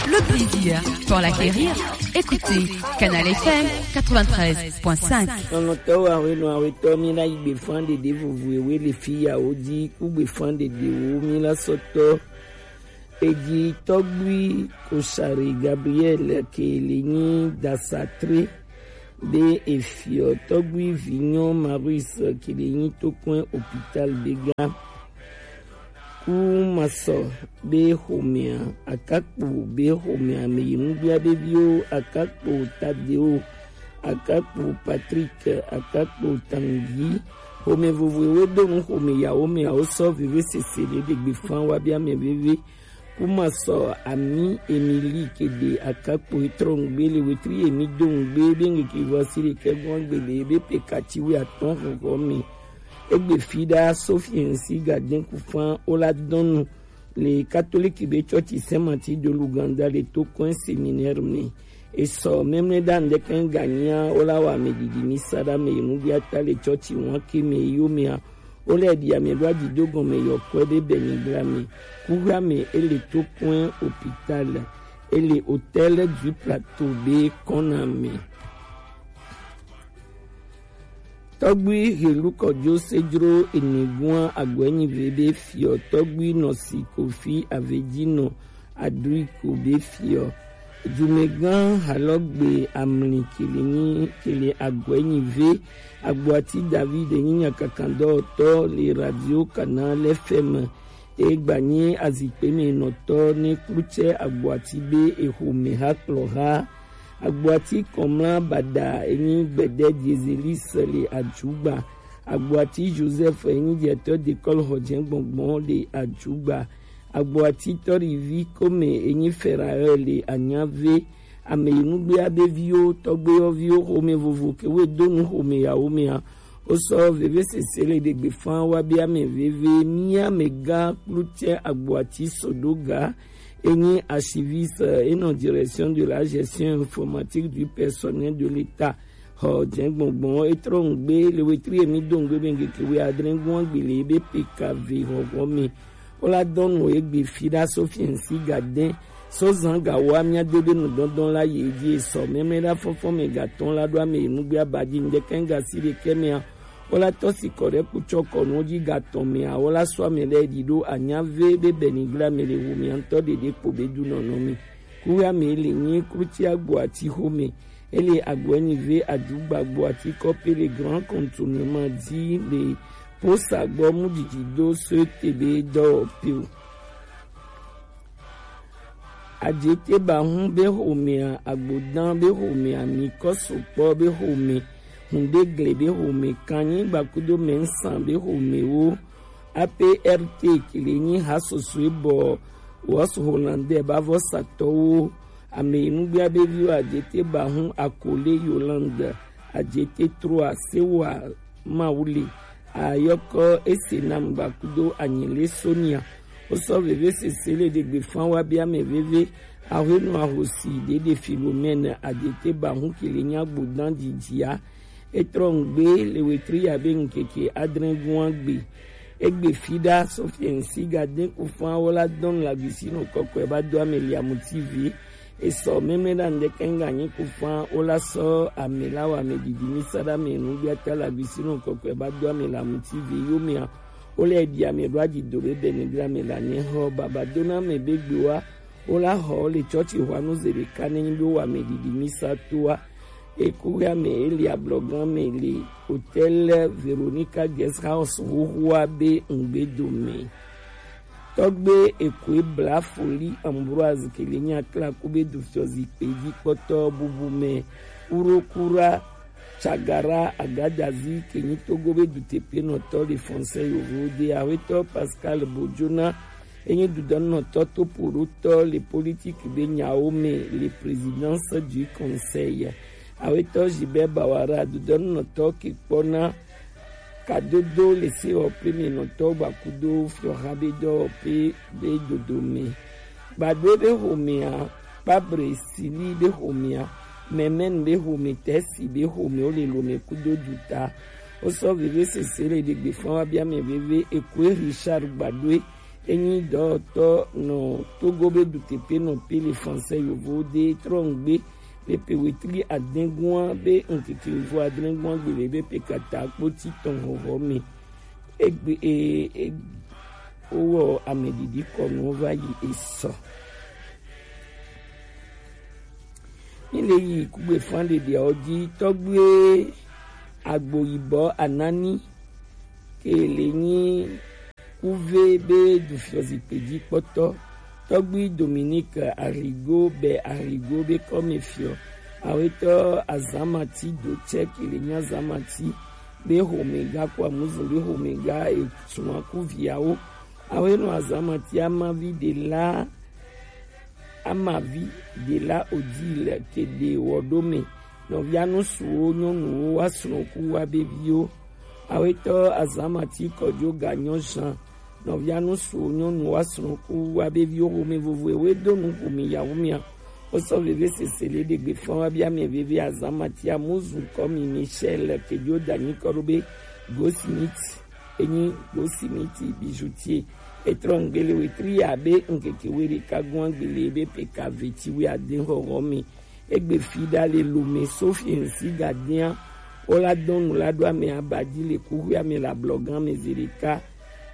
Le plaisir pour l'acquérir. Écoutez Canal F M quatre-vingt-treize point cinq. Nɔnɔtɔwo awe nɔ awe tɔ mi la yi gbe fan ɖeɖe vovo ewe le fi ya wo dzi ku gbe fan ɖeɖe wo mi la sɔtɔ. Eji tɔgbui Koshari Gabriel ke le nyi dasatre be efiɔ tɔgbui vinyɔ Maurice ke le nyi tokɔn hôpital be ga. Ku masɔ be xomea akakpo be xomea me yi nugbea be viwo akakpo Tadeo akakpo Patrick akakpo Tangi xome vovoewo do nu xome yawo me awo sɔ veve sese ɖe ɖegbe fan wa be ame veve. Ku masɔ ami Emily ke ɖe akakpo etrɔ ŋgbe le wetri emi do ŋgbe be ŋgeke vɔ si ɖe kɛgbɔn gbe le be pekati wi atɔn xɔxɔ me. Egbe fi ɖa Sophie ŋsi gaden kufan wo la dɔnu le katoliki be tsɔtsi Saint Martin de l'Ouganda le to kɔn séminaire me. Esɔ mɛmlɛ ɖa ŋdɛkɛ ŋganyia wo la wa ame ɖiɖi mi sa ɖa me yi nugbia ta le tsɔtsi wan ke me yo mea wo lɛ ɖi ame ɖo aɖi do gɔme yɔ kɔe ɖe bɛ nyigla me. Kuhla me ele to kɔn hôpital ele hôtel du plateau be kɔna me. Tɔgbui helu kɔjo sejro enegua agɔenyi veve fiɔ tɔgbui nɔ si kofi aveji nɔ adui ko be fiɔ. Dumegã halɔgbe amli kele nyi kele agɔenyi ve agboati David enyi nyakakandɔtɔ le radio Canal F M. Egba nyi azikpe me nɔtɔ ne klutsɛ agboati be exome ha kplɔ ha. Agboati kɔmla bada enyi gbɛdɛ Diezelis le ajugba. Agboati Joseph enyi diɛtɔ dekɔl xɔjɛ gbɔngbɔn le ajugba. Agboati tɔrivi kome enyi Ferael le anyave. Ame yi nugbea be viwo tɔgbewo viwo xome vovo ke wo do nu xome yawo mea. Wo sɔ veve sese le ɖegbe fan wa be ame veve mi ame gã klutsɛ agboati sodoga. Enyi archiviste enɔ direction de la gestion informatique du personnel de l'État. Xɔ dze gbɔngbɔn etrɔ ŋgbe le wetri emi do ŋgbe be ŋgeke wi adre ŋgɔn gbe le ebe pekave xɔxɔ me. Wo la dɔn nu egbe fi ɖa so fiɛnsi ga dɛn so zan ga wa mia de be nudɔdɔn la yi edzi esɔ mɛmlɛ ɖa fɔfɔ me ga tɔn la ɖo ame yi nugbe aba dzi ŋdɛkɛ ŋga si ɖekɛ mea. Wo la tɔ si kɔ ɖe kutsɔ kɔnuwo dzi ga tɔn mea wo la sɔ ame ɖe ɖi ɖo anya ve be bɛnigla me le wu mia ŋutɔ ɖeɖe kpo be du nɔnɔ me. Kuɣa me le nyi kluti agbo ati xo me. Ele agbo enyi ve adugba agbo ati kɔpe le grand contournement dzi le posa gbɔ mu didi do so te be dɔ pe o. Adze te ba hu be xomea, agbodan be xomea, mi kɔ sokpɔ be xome, hunde gle be xome, kanyi gbakudo mɛnsan be xomewo, A P R T kele nyi ha sosoe bɔ Wos Hollandais ba vɔ satɔwo, ame yi nugbea be viwo adze te ba hu akole Yolande, adze te troa sewa Mawuli, ayɔkɔ ese nam gbakudo anyele Sonia. Wo sɔ veve sese le ɖegbe fan wa be ame veve. Ahwenu ahosi ɖeɖe Philomène adete ba hu kele nya gbodan didia. Etrɔ ŋgbe le wetri ya be ŋkeke adre gua gbe. Egbe fida Sofiensi Gaden Kufan wola dɔn lagusino kɔkɔe ba do ame le amuti vi. Esɔ mɛmɛ da ndɛkɛ nga nyi Kufan wola sɔ ame la wa ame didi mi sada me nu biata lagusino kɔkɔe ba do ame le amuti vi yo mea. Wole di ame do aji do be bene gra me la ne ho baba dona me be gbe wa. Wola ho le chɔchi hwa nu zere ka ne nyi be wa ame didi mi sa to wa. Ekuɣea me Elia Blɔgan me le Hotel Veronica Guest House huhua be ŋgbedo me. Tɔgbe Ekoe Bla Foli Ambroise ke le nya kla ku be du fiɔ zikpe ji kpɔtɔ bubu me Urokura Chagara Agadazi ke nyi Togo be du tepe nɔtɔ le Français yovo de awetɔ Pascal Bojona enyi dudɔnɔtɔ to poɖotɔ le politique be nyawo me le Présidence du Conseil. Awetɔ Gilbert Bawara dudɔnɔtɔ ke kpɔna kadodo le sewɔƒe me nɔtɔ gbakudo fiɔha be dɔwɔƒe be dodo me. Gbadue be homea, Kpabre Sili be homea, Mɛmɛn be home, Tɛsi be home, wo le lome kudo duta. Wo sɔ veve sese le ɖegbe fɔn wa bia mɛ veve Ekoe Richard Gbadue enyi dɔwɔtɔ nɔ Togo be duteƒe nɔ pe le Français yovo de trɔ ŋgbe le pe wetri adɛngua be ŋkeke yovo adɛngua gbe le be pe kata kpoti tɔn hɔhɔ me. Egbe e, e, wowɔ ame didi kɔnu va yi esɔ. Mi le yi kugbe fan ɖeɖea wo dzi tɔgbe agbo yibɔ anani ke le nyi kuve be du fiɔ zikpe dzi kpɔtɔ. Tɔgbi Dominique Arrigo be Arrigo be kɔme fiɔ. Awetɔ Azamati do tsɛ ke le nyi Azamati be homega ko amuzu be homega esun akuviawo. Awenɔ Azamati amavi de la amavi de la odi le ke de wɔ ɖo me. Nɔvia nusuwo nyɔnuwo wa srɔ̃ku wa be viwo. Awetɔ Azamati kɔdzo ga nyɔ zan. Nɔvia nusuwo nyɔnu wa srɔ̃ku wa be viwo home vovo ewe do nu home yawo mia. Wo sɔ veve sese le ɖegbe fɔn wa bia mɛ veve Azamati amuzu kɔ mi Michel ke dzo da nyi kɔ ɖo be Goldsmith enyi Goldsmith bijoutier. Etrɔ ŋgbele wetri ya be ŋkeke we ɖeka gɔn gbele be peka veti we ade hɔhɔ mi. Egbe fi ɖa le lome Sophie ŋsi gadea. Wo la dɔn nu la ɖo ame aba dzi le kuxi ame le ablɔgan me zi ɖeka.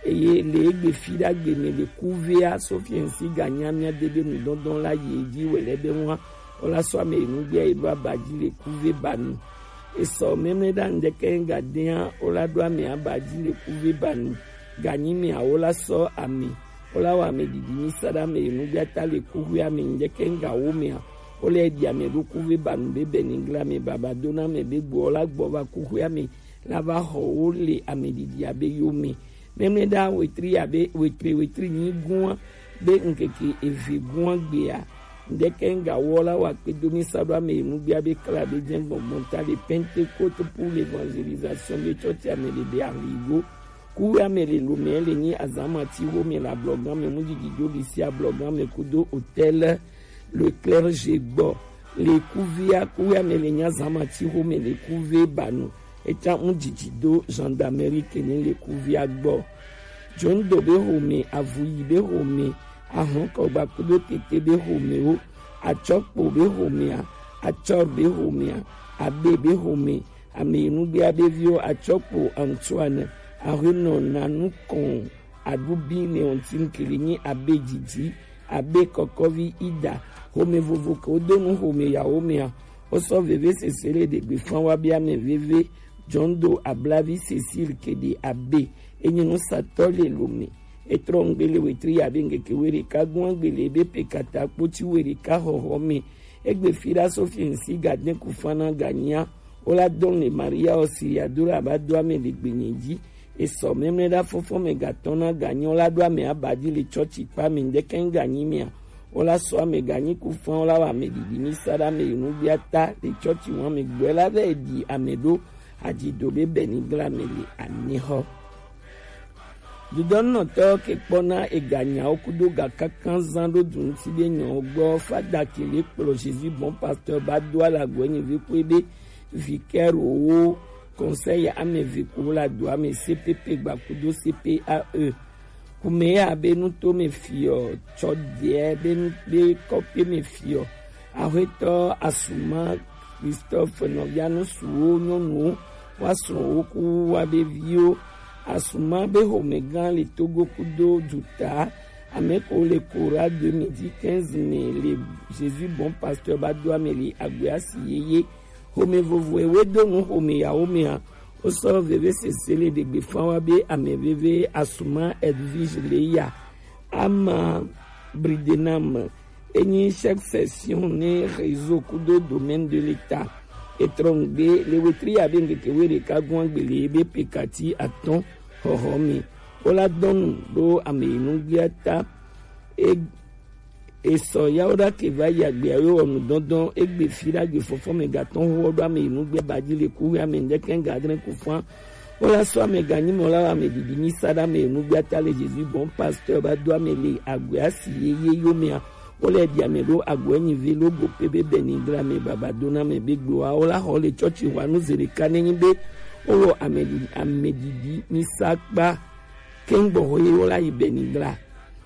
Eye le egbe fi ɖa gbe me le kuvea Sophie ŋsi ganya mia de be nu dɔndɔn la yi edzi wele be ŋua. Wo la sɔ ame yi nu gbea yi ɖo aba dzi le kuve ba nu. Esɔ mɛmlɛ ɖa ŋdɛkɛ ŋgadea wo la ɖo ame aba dzi le kuve ba nu. Ganyi mea wo la sɔ ame. Wo la wɔ ame didi mi sa ɖa ame yi nu gbea ta le kuxi ame ŋdɛkɛ ŋga wo mea. Wo le ɖi ame ɖo kuve ba nu be bɛ ni gla ame baba do na ame be gbɔ wo la gbɔ va kuxi ame la va xɔ wo le ame didi abe yo me. Mɛmlɛ ɖa wetri abe wetri wetri nyi gua be ŋkeke eve gua gbea. Ŋdɛkɛ ŋga wo la wa kpe do mi sa ɖo ame yi nu gbea be kla be jɛ gbɔngbɔn ta le Pentecôte pour l'évangélisation be chɔchi ame le be aligo. Kuwe ame le lome le nyi azamati wo me le ablɔgan me mu didi do li si ablɔgan me kudo hôtel le clergé gbɔ. Le kuvea kuwe ame le nyi azamati wo me le kuve ba nu. Eta mu didi do gendarmerie kene le kuvea gbɔ. Jondo be home, avuyi be home, ahɔnkɔgba kudo tete be home wo, atsɔkpo be homea, atsɔr be homea, abe be home, ame yi nu gbea be viwo atsɔkpo Antoine, ahuenɔ nanu kɔn aɖubi Leontine ke le nyi abe didi, abe kɔkɔvi Ida, home vovo ke wo do nu home yawo mea, wo sɔ veve sese le ɖegbe fan wa be ame veve, Jondo Ablavi Cécile ke ɖe abe, enyi nusatɔ le lome, etrɔ ŋgbe le wetri ya be ŋkeke we ɖeka gua ŋgbe le be pe kata kpoti we ɖeka xɔxɔ me, egbe fi ɖa Sophie ŋsi gadin kufana ganya, wo la dɔn le Maria Auxiliadora ba do ame le gbenye dzi. Esɔ mɛmlɛ ɖa fɔfɔ me gatɔn na ganyɔ la ɖo ame aba dzi le chɔchi kpa me ŋdɛkɛ ŋganyi mea. Wo la sɔ ame ganyi kufan wo la wa ame didi mi sa ɖa ame yi nu gbia ta le chɔchi wa me gbɔe la vɛ di ame ɖo adzido be bɛ ni gla me le anexɔ. Dudɔnɔtɔ ke kpɔna eganyawo kudo ga kankan zan ɖo du ŋuti be nyɔ gbɔ fada ke le kplɔ Jésus bon pasteur ba do ala gɔe nyi vi kue be vicaire wo Conseil ame eve ko la do ame C P P gba kudo C P A E. Kumeya be nu to me fiɔ, tsɔ deɛ be nu be kɔpe me fiɔ. Ahwetɔ Asuma Christophe nɔvia nu suwo nyɔnuwo wa srɔ̃wo ku wa be viwo. Asuma be homegã le Togo kudo duta. Ame ko le Kora deux mille quinze me le Jésus Bon Pasteur ba do ame le agbea si yeye. Home vovo ewe do nu home yawo mea. Wo sɔ veve sese le ɖegbe fan wa be ame veve Asuma Edwige le ya. Ama Bridenam enyi chef section ne réseau kudo domaine de l'État. Etrɔngbe le wetri ya be ŋkeke we ɖeka gɔn agbele be pekati atɔn hɔhɔ mi. Wo la dɔnu ɖo ame yi nu gbia ta. E esɔ yawo ɖa ke va yi agbea yo wɔ nu dɔndɔn egbe fi ɖa gbe fɔfɔ me gatɔn ho ɖo ame yi nu gbia ba ji le ku ya me ŋdɛkɛ ga adre ku fan. Wo la sɔ ame ganyi me wo la wa ame didi mi sa ɖa ame yi nu gbia ta le Jésus Bon Pasteur ba do ame le agbea si ye ye yo mea. Wo le ɖi ame ɖo agbea nyi ve lo go pe be beni gra me baba do na me be gbe wa wo la xɔ le tsɔtsi wa nu ze ɖeka ne nyi be wo wɔ ame didi ame didi mi sa kpa. Kengbo ho ye wo la yi beni gra.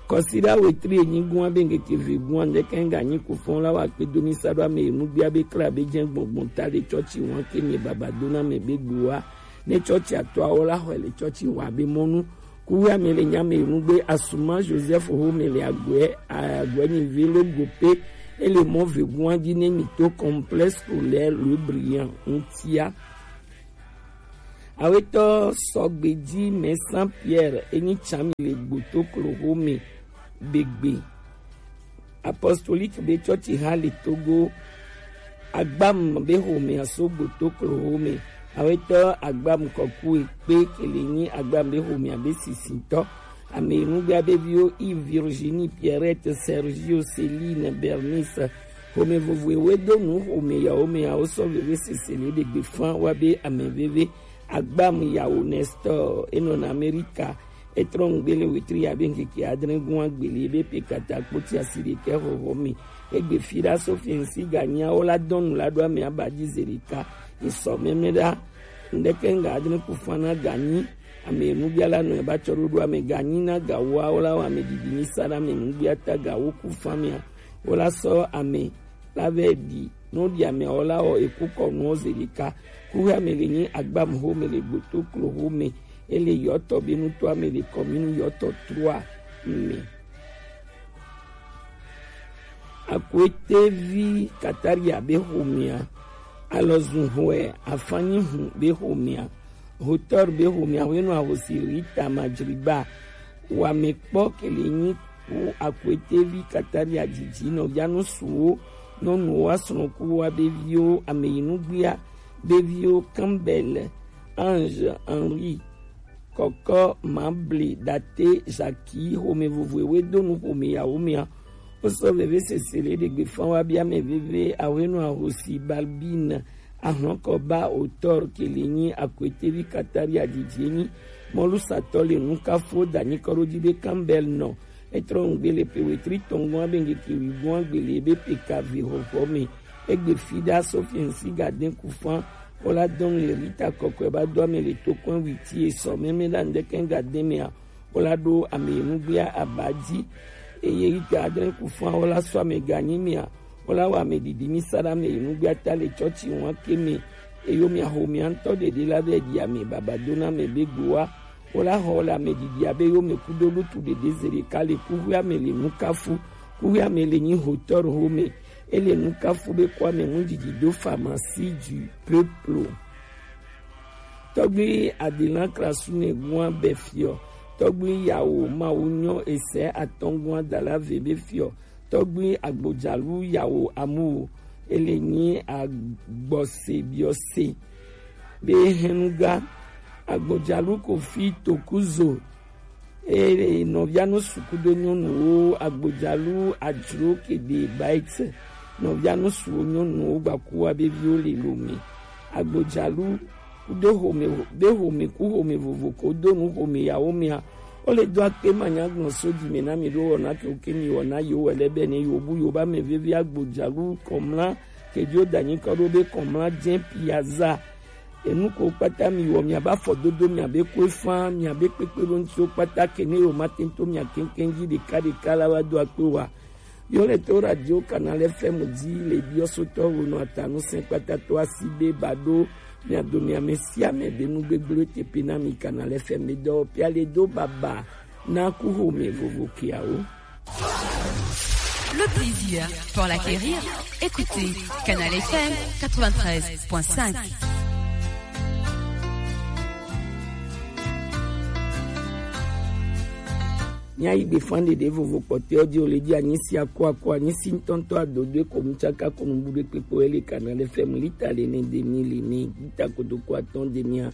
Kɔsiɖa wetri enyi gua be ŋkeke ve gua ŋdɛkɛ ŋga nyi ku fɔn la wa kpe do mi sa ɖo ame yi nu gbia be kla be jɛ gbɔngbɔn ta le tsɔtsi wan ke mi baba do na me be gbe wa. Ne tsɔtsi atɔ awo la xɔe le tsɔtsi wa be mɔnu. Kuwe ame le nya me yi nu gbe Asuma Joseph ho me le agbɛ agbɛ nyi ve lo go pe. Ele mɔ ve gua ji ne mi to complexe scolaire Le Brillant ŋutia. Awetɔ sɔgbeji mɛ Saint Pierre enyi tsami le gbotoklo home begbe. Apostolique be tsɔtsi ha le Togo. Agbam be home aso gbotoklo home. Awetɔ Agbam kɔku ekpe kele nyi Agbam be home abe sisitɔ. Ame nugbea be viwo Yves, Virginie, Pierrette, Sergio, Céline, Bernice. Home vovo ewe do nu home yawo me yawo sɔ veve sese le ɖegbe fan wa be ame veve. Agbam yawo Nestor enɔna Amerika. Etrɔ ŋgbe le wetri ya be ŋkeke adre gua gbele be pe kata kpoti asi ɖekɛ hɔhɔ me. Egbe fi ɖa so fi ŋsi ga nyawo la dɔnu la ɖo ame aba ji ze ɖeka. Esɔ mɛmɛ ɖa. Ŋdɛkɛ ŋga adre ku fan na ga nyi. Ame nugbia la nɔ eba tsɔ ɖoɖo ame ga nyi na ga woawo la wɔ ame didi mi sa ɖe ame nugbia ta ga wo ku fan mea. Wo la sɔ ame la vɛ ɖi. No ɖi ame wo la wɔ eku kɔ nuɔ ze ɖeka. Kuhe ame le nyi Agbam home le gbotoklo home. Ele yɔtɔ be nutɔ ame le kɔminu yɔtɔ trua me. Akoetevi Kataria be homea, Alɔzun hɔe Afanyi hu be homea, Hotor be homea, hwenu ahosi Rita Majriba, wamekpɔ kele nyi ku Akoetevi Kataria dzidzi nɔvia nusuwo, nyɔnuwo, asrɔ̃kuwo, abeviwo, ameyinugbia, beviwo, Campbell, Ange, Henri, Kɔkɔ, Mable, Date, Jackie, home vovo ewe do nu home yawo mea. Wo sɔ veve sese le ɖegbe fan wa bia ame veve ahwenu ahosi Balbine, ahlɔkɔ ba Hotor kele nyi Akoetevi Kataria dzidzi nyi. Mɔlusatɔ le nukafuwo da nyi kɔ ɖo ji be Campbell nɔ. Etrɔ ŋgbe le pe wetri tɔngɔn abe ŋkeke wigun agbele be pe ka ve hɔhɔ me. Egbe fi ɖa so fi ŋsi ga den ku fan. Wo la dɔn le Rita kɔkɔe ba do ame le tokɔn witi esɔ mɛmɛ ɖa ŋdɛkɛ ga den mea. Wo la ɖo ame nugbia aba ji. Eye Rita adre ku fan wo la sɔ ame ga nyi mea. Wo la wɔ ame didi mi sa ɖe ame nugbia ta le tsɔtsi wan ke me. Eyo mea ho mea ŋtɔ ɖeɖe la vɛ ɖi ame baba do na ame be gboa. Wo la xɔ le ame didi abe yo me kudo lutu ɖeɖe ze ɖeka le kuxuia me le nukafu. Kuxuia me le nyi Hotor home. Ele nukafu be kɔ ame nu didi do pharmacie du peuple. Tɔgbi Adilan Krasu ne gua be fiɔ. Tɔgbi yawo mawu nyɔ ese atɔngua dala ve be fiɔ. Tɔgbi Agbodzalu yawo amu. Ele nyi agbɔse biɔse. Be henuga Agbodzalu Kofi Tokuzo. Eye nɔvia nu suku do nyɔnuwo Agbodzalu adzro kede bait. Nɔvia nu suwo nyɔnuwo gbakuwa be viwo le lo me. Agbodzalu kudo home be home ku home vovo ko do nu home yawo mea. Wo le do akpe manya gbɔn so dzi me na mi ɖo wɔna ke wo ke mi wɔna yo wɛ lɛ bɛ ne yo bu yo ba me veve Agbodzalu kɔmla ke dzo danyi kɔ ɖo be kɔmla jɛ piaza. Enu ko kpata mi wɔ, mi aba fɔ dodo, mi abe ko efa, mi abe kpekpe ɖo ŋuti wo kpata ke ne yo ma tento mi akenken ji ɖeka ɖeka la wa do akpe wa. Yo le to Radio Canal F M di le biɔ sotɔ wo no atanu sɛn kpata to asi be ba ɖo mi ado mi ame sia ame be nu gbegble te pe na mi Canal F M be dɔ pia le do baba na ku ho me vovo kiawo. Le plaisir pour l'acquérir, écoutez Canal F M quatre-vingt-treize point cinq. Mía yi gbe fan ɖeɖe vovo kpɔtɔewo di o le dzi anyi si ako ako anyi si ŋutɔŋutɔ adodoe ko nu tsaka ko nu bu ɖe kpekpe ele Canal F M lita le ne demi le ne lita kotoku atɔ̃ demia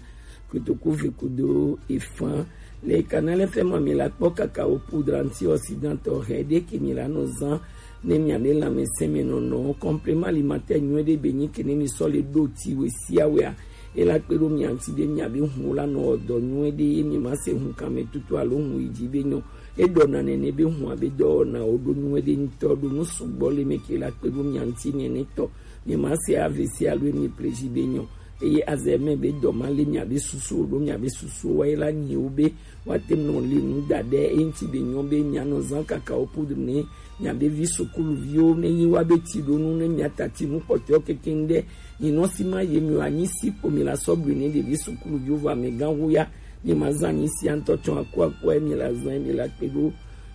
kotoku ve kudo efan. Le Canal F M mi la kpɔ kakao poudre antioxydant tɔxɛ ɖe ke mi la nɔ zan ne mi ame lãmesẽ me nɔnɔ complément alimentaire nyuie ɖe be nyi ke ne mi sɔ le ɖo ti we sia wea. Ela kpe ɖo mia ŋuti be mia be hun la nɔ dɔ nyuie ɖe ye mi ma se hun kame tutu alo hun yi dzi be nyɔ. Eɖɔ na nene be hun abe dɔwɔna wo ɖo nyuie ɖe ŋutɔ ɖo nu sugbɔ le me ke la kpe ɖo mia ŋuti nene tɔ. Mi ma se A V C alo mi pleji be nyɔ. Eye azɛ mɛ be dɔ ma le mia be susu ɖo mia be susu wa ye la nyi wo be wa te nɔ le nu da ɖe eŋti be nyɔ be mia nɔ zan kakao poudre ne mia be vi sukuluviwo ne yi wa be ti ɖo nu ne mia tati nu kpɔtɔ keke ŋɖe. Nyi nɔ si ma ye mi wa nyi si ko mi la sɔ blu ne ɖevi sukuluviwo va mi gan wu ya. Mi ma zan nyi si antɔ tsɔ aku aku mi la zan mi la kpe ɖo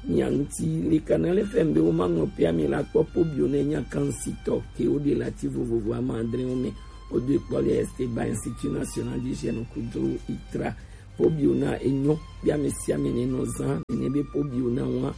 mia ŋti le Canal F M be wo ma ŋlɔ pia mi la kpɔ po bio ne nya kan si tɔ ke wo de la ti vovovo ama adre wo me. Wodo kpɔ le Esteban Institut National d'Hygiène kudo itra. Pobio na enyo, bia ame sia ame ne nɔ zã, ne be pobio na wa.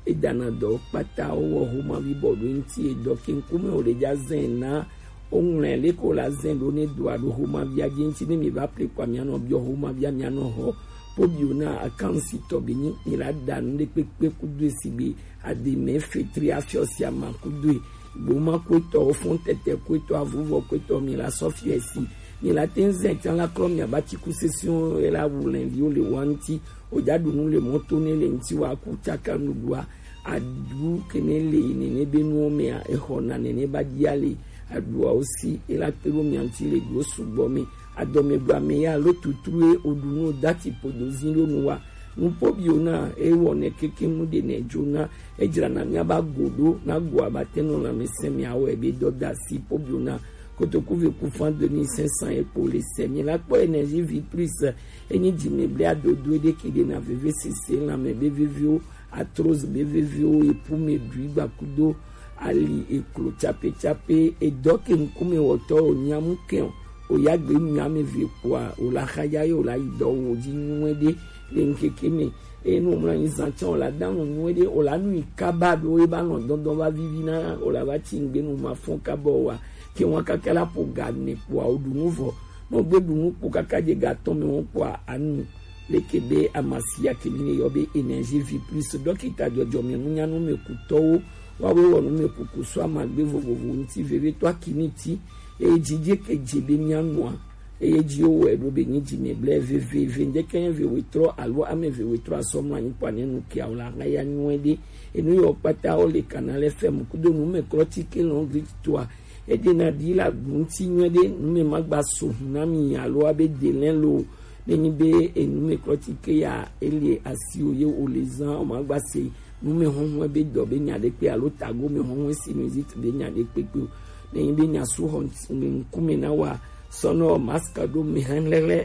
Edana dɔ kpata wowɔ homavi bɔ ɖo ŋti edɔ ke ŋkume wo le dza zɛn na wo ŋlɛ leko la zɛn ɖo ne doa ɖo homavia dzi ŋti ne mi va ple kpa mia nɔ biɔ homavia mia nɔ hɔ. Pobio na akansi tɔ be nyi mi la da nu ɖe kpekpe kudo esi be ademe fetri afiɔ sia ma kudo e. Gboma kuetɔ, ofɔn tɛtɛ kuetɔ, avuvɔ kuetɔ, mi la sɔfiɛ si. Mi la te ŋ zɛ tsa la klɔ mi abati kusesiwo e la wu lɛnviwo le wa ŋti. O ja ɖu nu le mɔto ne le ŋti wa ku tsaka nuɖua. Aɖu ke ne le yi nene be nuwo mea, exɔ na nene ba dia le aɖuawo si. E la kpe ɖo mia ŋti le ɖuwo sugbɔ me. Adɔmegba me ya lo tutru e o ɖu nu o dati podo zi ɖo nu wa. Nupo bio na e wɔ nɛ keke nu ɖe nɛ jo na e jra na mia ba go ɖo na go abate nɔ lãmesẽ mia wɔ ebe dɔ da si po bio na kotoku ve ku fan deux mille cinq cents e po le sɛ mi la kpɔ énergie vie plus e nyi dzi me ble adodo e ɖe ke ɖe na veve sese lãme be veviwo arthrose be veviwo e pu me ɖui gba kudo ali eklo tsape tsape edɔ ke ŋkume wɔtɔ o nyamu ke o. O ya gbe nu ame ve kpoa o la xa ya ye o la yi dɔ wo dzi nyuie ɖe le ŋkeke me. Eye nu o mla nyi zã tsã o la da nu nyuie ɖe o la nu yi kaba be o ye ba nɔ dɔndɔn va vivi na o la va tsi ŋgbe nu ma fɔn kaba o wa ke ŋua kaka la ƒo ga ne kpoa o ɖu nu vɔ. Ne o gbe ɖu nu kpo kaka dze ga tɔn me ŋu kpoa anu leke be amasia ke mi ne yɔ be énergie vie plus dɔkita dzɔdzɔme nunyanu me kutɔwo. Woawoe wɔ numekuku so amagbe vovovo ŋuti vevietɔ akini ti, eye dzidze ke dze be míanɔa, eye dzi wowɔe ɖo be nyi dzime blɛ veveve ŋdeke nye ve wetrɔ alo ame ve wetrɔ asɔ mlɔ anyi kpɔ ane nu kia o la ŋa ya nyuie ɖe. Enu yɔ kpata wo le Canal F M kudo numeklɔti ke lɔn grititoa, eɖena ɖi la gu ŋuti nyuie ɖe nume magba so hu na mi alo abe delɛn lo. Ne nyi be enumeklɔti ke ya ele asi o ye o le zã o magba se nume hɔhɔe be dɔ be nya ɖe kpe alo tago me hɔhɔe sinusite be nya ɖe kpekpe o. Ne nyi be nya su xɔ ŋkume na wa sɔnɔ mask ɖo me hɛn lɛlɛ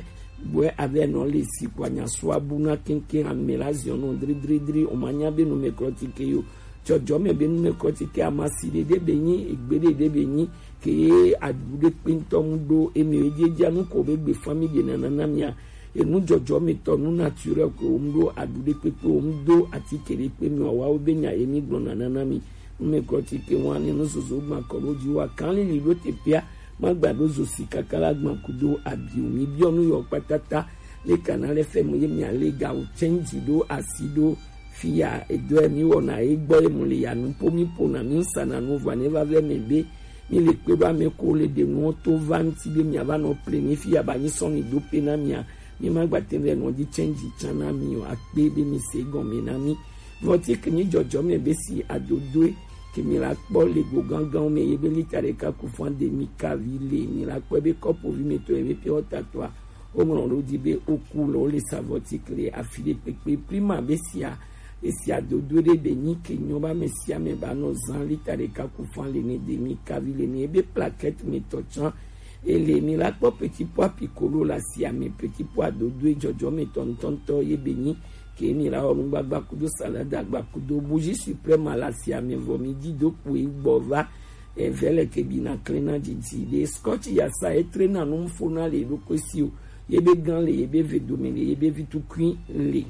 bɔɛ avɛ nɔ le si kpa nya su abu na keŋkeŋ ame la ziɔ nɔ dridridri o ma nya be numeklɔti ke yo. Dzɔdzɔme be numeklɔti ke ama si ɖe ɖe be nyi egbe ɖe ɖe be nyi ke ye aɖu ɖe kpe ŋutɔ ŋu ɖo eme ye dzedzia nu ko be gbe famille nana na mia. Enu dzɔdzɔmetɔ nu naturel ko wo mu ɖo aɖu ɖe kpekpe wo mu do atike ɖe kpe mi wawa wo be nya ye mi gblɔ nana na mi. Numeklɔti ke wa ne nu zozo gba kɔ ɖo dzi wa kan lili ɖo te pia ma gba ɖo zo si kaka la gba kudo abi o mi biɔ nu yɔ kpatata le Canal F M ye mia le ga o change ɖo asi ɖo fi ya edɔ ye mi wɔna ye gbɔ ye mu le ya nu po mi po na mi sa na nu va ne va vɛ me be mi le kpe ɖo ame ko le ɖe nuwo to va ŋuti be mia va nɔ ple mi fi ya ba nyi sɔ mi do pe na mia. Mi ma gba te vɛ nɔ dzi change tsa na mi o akpe be mi se gɔme na mi. Vɔti ke nyi dzɔdzɔme be si adodoe ke mi la kpɔ le go gangan me ye be lita ɖeka ku fan demi kavi le, mi la kpɔ be kɔpo vi me tɔ ye be pure water tɔ a, wo ŋlɔ ɖo di be oku lɔ wo le savɔ ti kle afi ɖe kpekpe prima be sia. Esia dodo ɖe be nyi ke nyɔ ba me sia me ba nɔ zan lita ɖeka ku fan le ne demi kavi le ne ye be plaquette me tɔ tsan. Ele mi la kpɔ petit pois piccolo la sia me, petit pois dodo e jɔjɔ me tɔ ŋtɔŋtɔ ye be nyi ke mi la wɔ nugbagba kudo salade agba kudo bougie suprême la sia me vɔ mi di do kpo e gbɔ va. Eve le ke bi na klena didi de scotch ya sa e tre na nu fo na le ɖo ko si o. Ye be gan le, ye be ve dome le, ye be vi tukui le.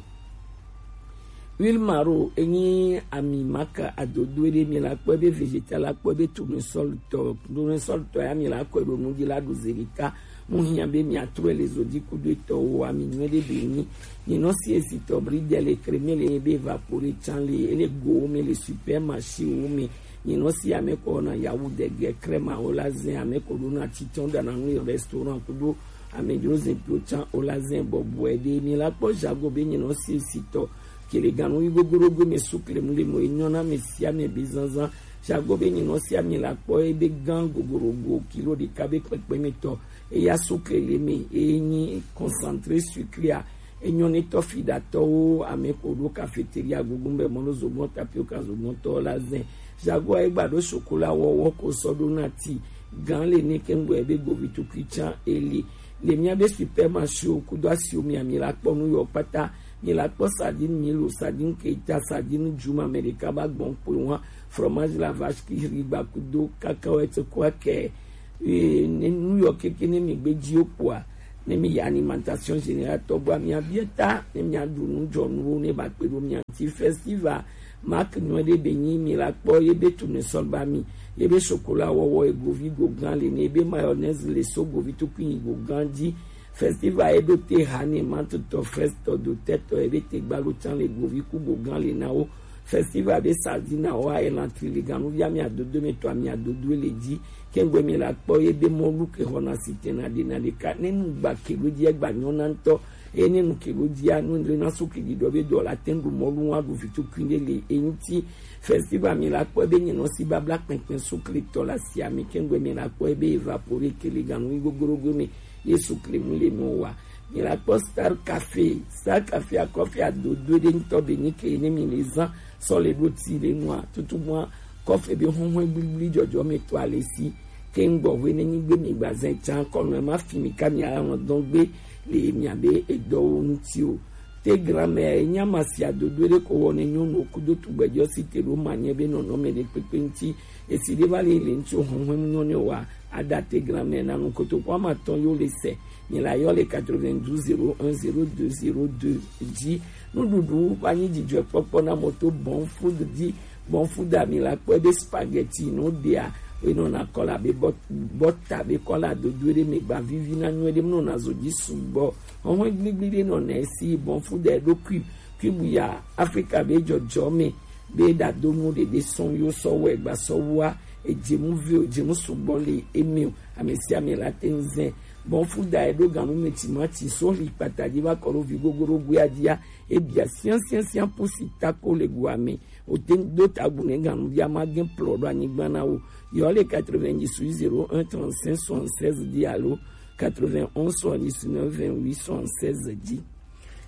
Huile maro enyi ami maka adodo ɖe mi la kpɔ be vegetal la kpɔ be tournesol tɔ, tournesol tɔ ya mi la kɔ ɖo nu di la ɖo zerika. Mu hiã be mi atrɔ le zodi kudo etɔ wo ami nyuie ɖe be nyi. Ni nɔ si esi tɔ bri de le creme le be vapore tsan le ele go wo me le supermarché wo me. Ni nɔ si ame kɔ na yawu de ge crema wo la zen ame ko ɖo na titɔn da na nu restaurant kudo ame dro zen to tsan wo la zen bɔbɔe ɖe mi la kpɔ jago be ni nɔ si esi tɔ kele ganu yi gogorogo me sukle mu le mo enyɔ na me sia me be zanzan. Jago be nyinɔ sia mi la kpɔ ebe gan gogorogo kilo ɖeka be kpekpe me tɔ eya sukle le me enyi concentré sucré a. Enyɔ ne tɔ fi ɖatɔwo ame ko ɖo cafeteria gugu be mɔno zogbɔn tapioca zogbɔn tɔ la zen. Jago a egba ɖo chocolat wɔwɔ ko sɔ ɖo na ti gan le ne kengbe be govi tukui tsan eli. Le mia be supermarché o kudo asi o mi ami la kpɔ nu yɔ kpata. Mi la kpɔ sardine milo, sardine keita, sardine juma, me ɖeka ba gbɔn kpoe wa, fromage la vache qui rit ba kudo cacahuète quoi que. Ne nu yɔ keke ne mi gbe dzi o kpoa, ne mi ya alimentation générale tɔ gbɔ mi abia ta ne mi aɖu nu dzɔnuwo ne ba kpe ɖo mi ati festival. Mark nyuie ɖe be nyi mi la kpɔ ye be tournesol ba mi, ye be chocolat wɔwɔ ye govi go gan le ne ye be mayonnaise le so govi tukui yi go gan dzi. Festival ye ɖo te ha ne mantutɔ frestɔ dotɛtɔ ye be te gbalo tsan le govi ku go gan le na wo. Festival be sardine wa ye lantri le ganuvia mi adodo me tɔ ami adodo le dzi. Kengbe mi la kpɔ ye be mɔlu ke xɔna si tena ɖe na ɖeka ne nu gba ke ɖo dzi egba nyɔna ŋutɔ. Eye ne nu ke ɖo dzia nu le na so ke ɖiɖɔ be dɔ la te ŋu ɖu mɔlu wa ɖu vitu kui ɖe le eŋuti. Festival mi la kpɔ be nyinɔ si babla kpɛnkpɛn sukle tɔ la si ame kengbe mi la kpɔ be evapore ke le ganu yi gogorogo me. Yesu kle mu le mɔ wa. Mi la kpɔ Star Cafe, Star Cafe akɔfe adodo ɖe ŋutɔ be nyi ke ne mi le zan sɔ le ɖo ti le nua tutu mua kɔfe be huhun gbligble dzɔdzɔ me to ale si. Ke ŋgbɔ hwe ne nyi gbe mi gba zɛn tsan kɔnu ma fi mi ka mi ala nɔ dɔn gbe le mi abe edɔwo ŋuti o. Te grand-mère enya ma si adodo ɖe ko wɔ ne nyɔnu kudo tugbɛjɔ si te ɖo ma nye be nɔnɔ me ɖe kpekpe ŋuti. Esi ɖe va le le ŋuti o huhun nyɔ ne wa ada te grand-mère na nu kotoku ama tɔn yo le se. Mi la yɔ le quatre-vingt-douze zéro un zéro deux zéro deux dzi. Nuɖuɖu va nyi dzidzɔkpɔkpɔ na moto bon food dzi. Bon food a mi la kpɔe be spaghetti no ɖea enɔna kɔla be bɔta be kɔla dodo ɖe me gba vivi na nyuie ɖe mu nɔna zo dzi sugbɔ. Hɔhɔn gbligble ɖe nɔna esi bon food a ɖo kui kui bu ya Afrika be dzɔdzɔ me be ɖadonu ɖeɖe sɔn yo sɔ wɔ egba sɔ wua. Edzemu ve o, edzemu sugbɔ le eme o, ame sia ame la te ŋu zɛ. Bon food a eɖo ganu me timati so li kpata dzi va kɔ ɖo vi gogoro goe a dzia. Ebia siansiansian pusi tako le goa me. O te ŋu do tagu ne ganu via ma gen plɔ ɖo anyigba na wo. Yɔ le quatre-vingt-dix zéro un trente-cinq soixante-seize dzi alo quatre-vingt-onze soixante-dix-neuf vingt-huit soixante-seize dzi.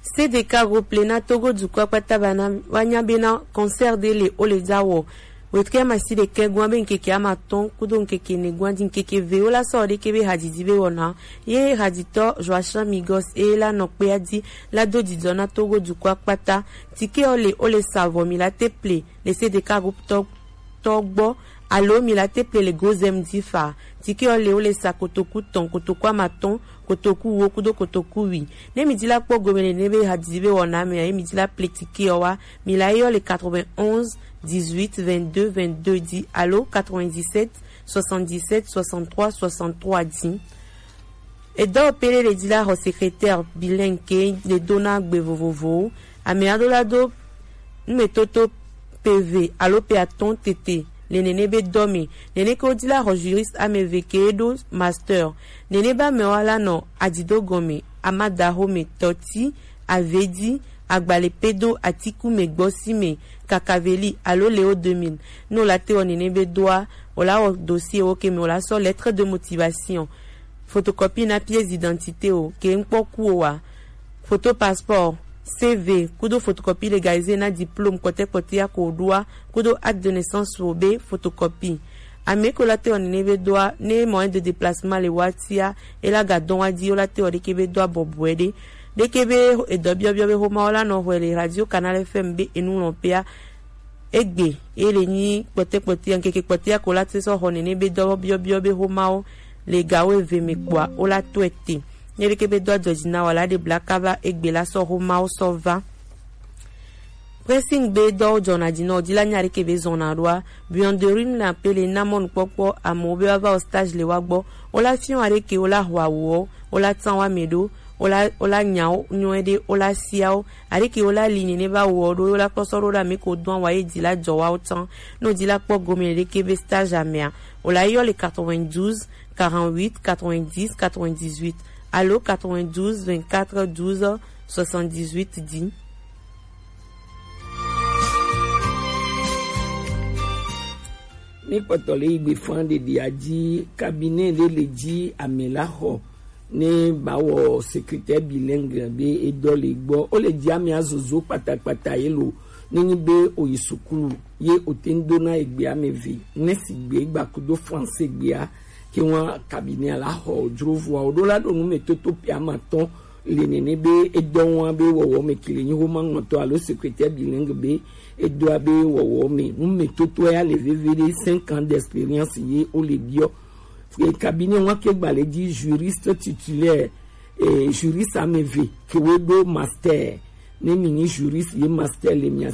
C D K groupe le na Togo dukɔ kpata bana wanya bena concert de le o le dza wɔ. Wetrɛ masi ɖekɛ gwan be ŋkeke ama tɔn kudo ŋkeke ne gwan di ŋkeke ve wo la sɔ ɖeke be hadidi be wɔna. Ye haditɔ Joachim Migos e la nɔ kpe adi la do didɔ na Togo dukɔ kpata. Tike o le o le savɔ mi la te ple le C D K groupe tɔ tɔ gbɔ alo mi la te ple le Gozem difa. Tike o le o le sa kotoku tɔn, kotoku ama tɔn, kotoku wo kudo kotoku wi. Ne mi di la kpɔ gome le ne be hadidi be wɔna me ye mi di la ple tike o wa mi la yɔ le quatre-vingt-onze dix-huit vingt-deux vingt-deux di alo quatre-vingt-dix-sept soixante-dix-sept soixante-trois soixante-trois di. Edɔ pele le di la xɔ secrétaire bilingue ke le dona gbe vovovowo. Ame aɖo la do numetoto pe ve alo pe atɔn tete le nene be dɔ me. Nene ke wo di la xɔ juriste ame ve ke ɖo master. Nene be amewo la nɔ adido gɔme, amadaxome, tɔti, avedi, Agbale pedo atiku me gbɔ si me kakaveli alo leo deux mille. Ne wòla te wɔ nene be doa, wòla wɔ dossier wo ke me, wòla sɔ lettre de motivation, photocopie na pièce d'identité o ke ŋkpɔ ku o wa, photo passeport, C V kudo photocopie légalisé na diplôme kpɔtɛkpɔtɛ ya ko wòɖoa kudo acte de naissance wo be photocopie. Ame ko la te wɔ nene be doa, ne moyen de déplacement le wa tia, e la ga dɔn wa di, wo la te wɔ ɖeke be doa bɔbɔe ɖe. Ɖeke be edɔ biɔbiɔ be homa wo la nɔ hɔe le Radio Canal F M be enu lɔn pea. Egbe, e le nyi kpɔtɛkpɔtɛ, ŋkeke kpɔtɛ ya ko la te sɔ hɔ nene be dɔ biɔbiɔ be homawo le gawo eve me kpoa, wo la tɔe te. Nye ɖeke be dɔ adzɔdzi na wa la ɖe bla kaba egbe la sɔ homawo sɔ va. Pressing be dɔwo jɔna dzi nɔ, dzi la nya ɖeke be zɔna ɖoa, buanderim na pele na mɔnukpɔkpɔ amewo be wa va o stage le wa gbɔ, wo la fiɔ aɖeke wo la hɔ awuwo, wo la tsan wa me ɖo, wo la, wo la nyawo nyɔe ɖe, wo la siawo, aɖeke wo la li nene va wɔ ɖo, wo la kpɔ sɔ ɖo ɖe ame ko dɔn wa ye dzi la jɔ wa wo tsan. No dzi la kpɔ gome ɖeke be stage amea, wo la yɔ le quatre-vingt-douze, quarante-huit, quatre-vingt-dix, quatre-vingt-dix-huit alo quatre-vingt-douze, vingt-quatre, douze, soixante-dix-huit dzi. Mi kpɔtɔ le yi gbe fan ɖeɖi adzi, cabinet ɖe le dzi ame la xɔ ne ba wɔ secrétaire bilingue be edɔ le gbɔ. O le dzi ame azozo kpatakpata ye lo, ne nyi be o yi sukulu ye o te ŋ do na egbe ame ve, ne si gbe gba kudo français gbea, ke wa cabinet la xɔ dro vua o ɖo la ɖo nu me toto pia ma tɔn le nene be edɔ wa be wɔwɔ me kele nyi homa ŋɔtɔ alo secrétaire bilingue be edɔa be wɔwɔ me nu me toto ya le veve ɖe cinq ans d'expérience ye o le biɔ. E cabinet wa ke gba le dzi juriste titulaire, e juriste ame ve ke wo ɖo master, ne mi nyi juriste ye master le mia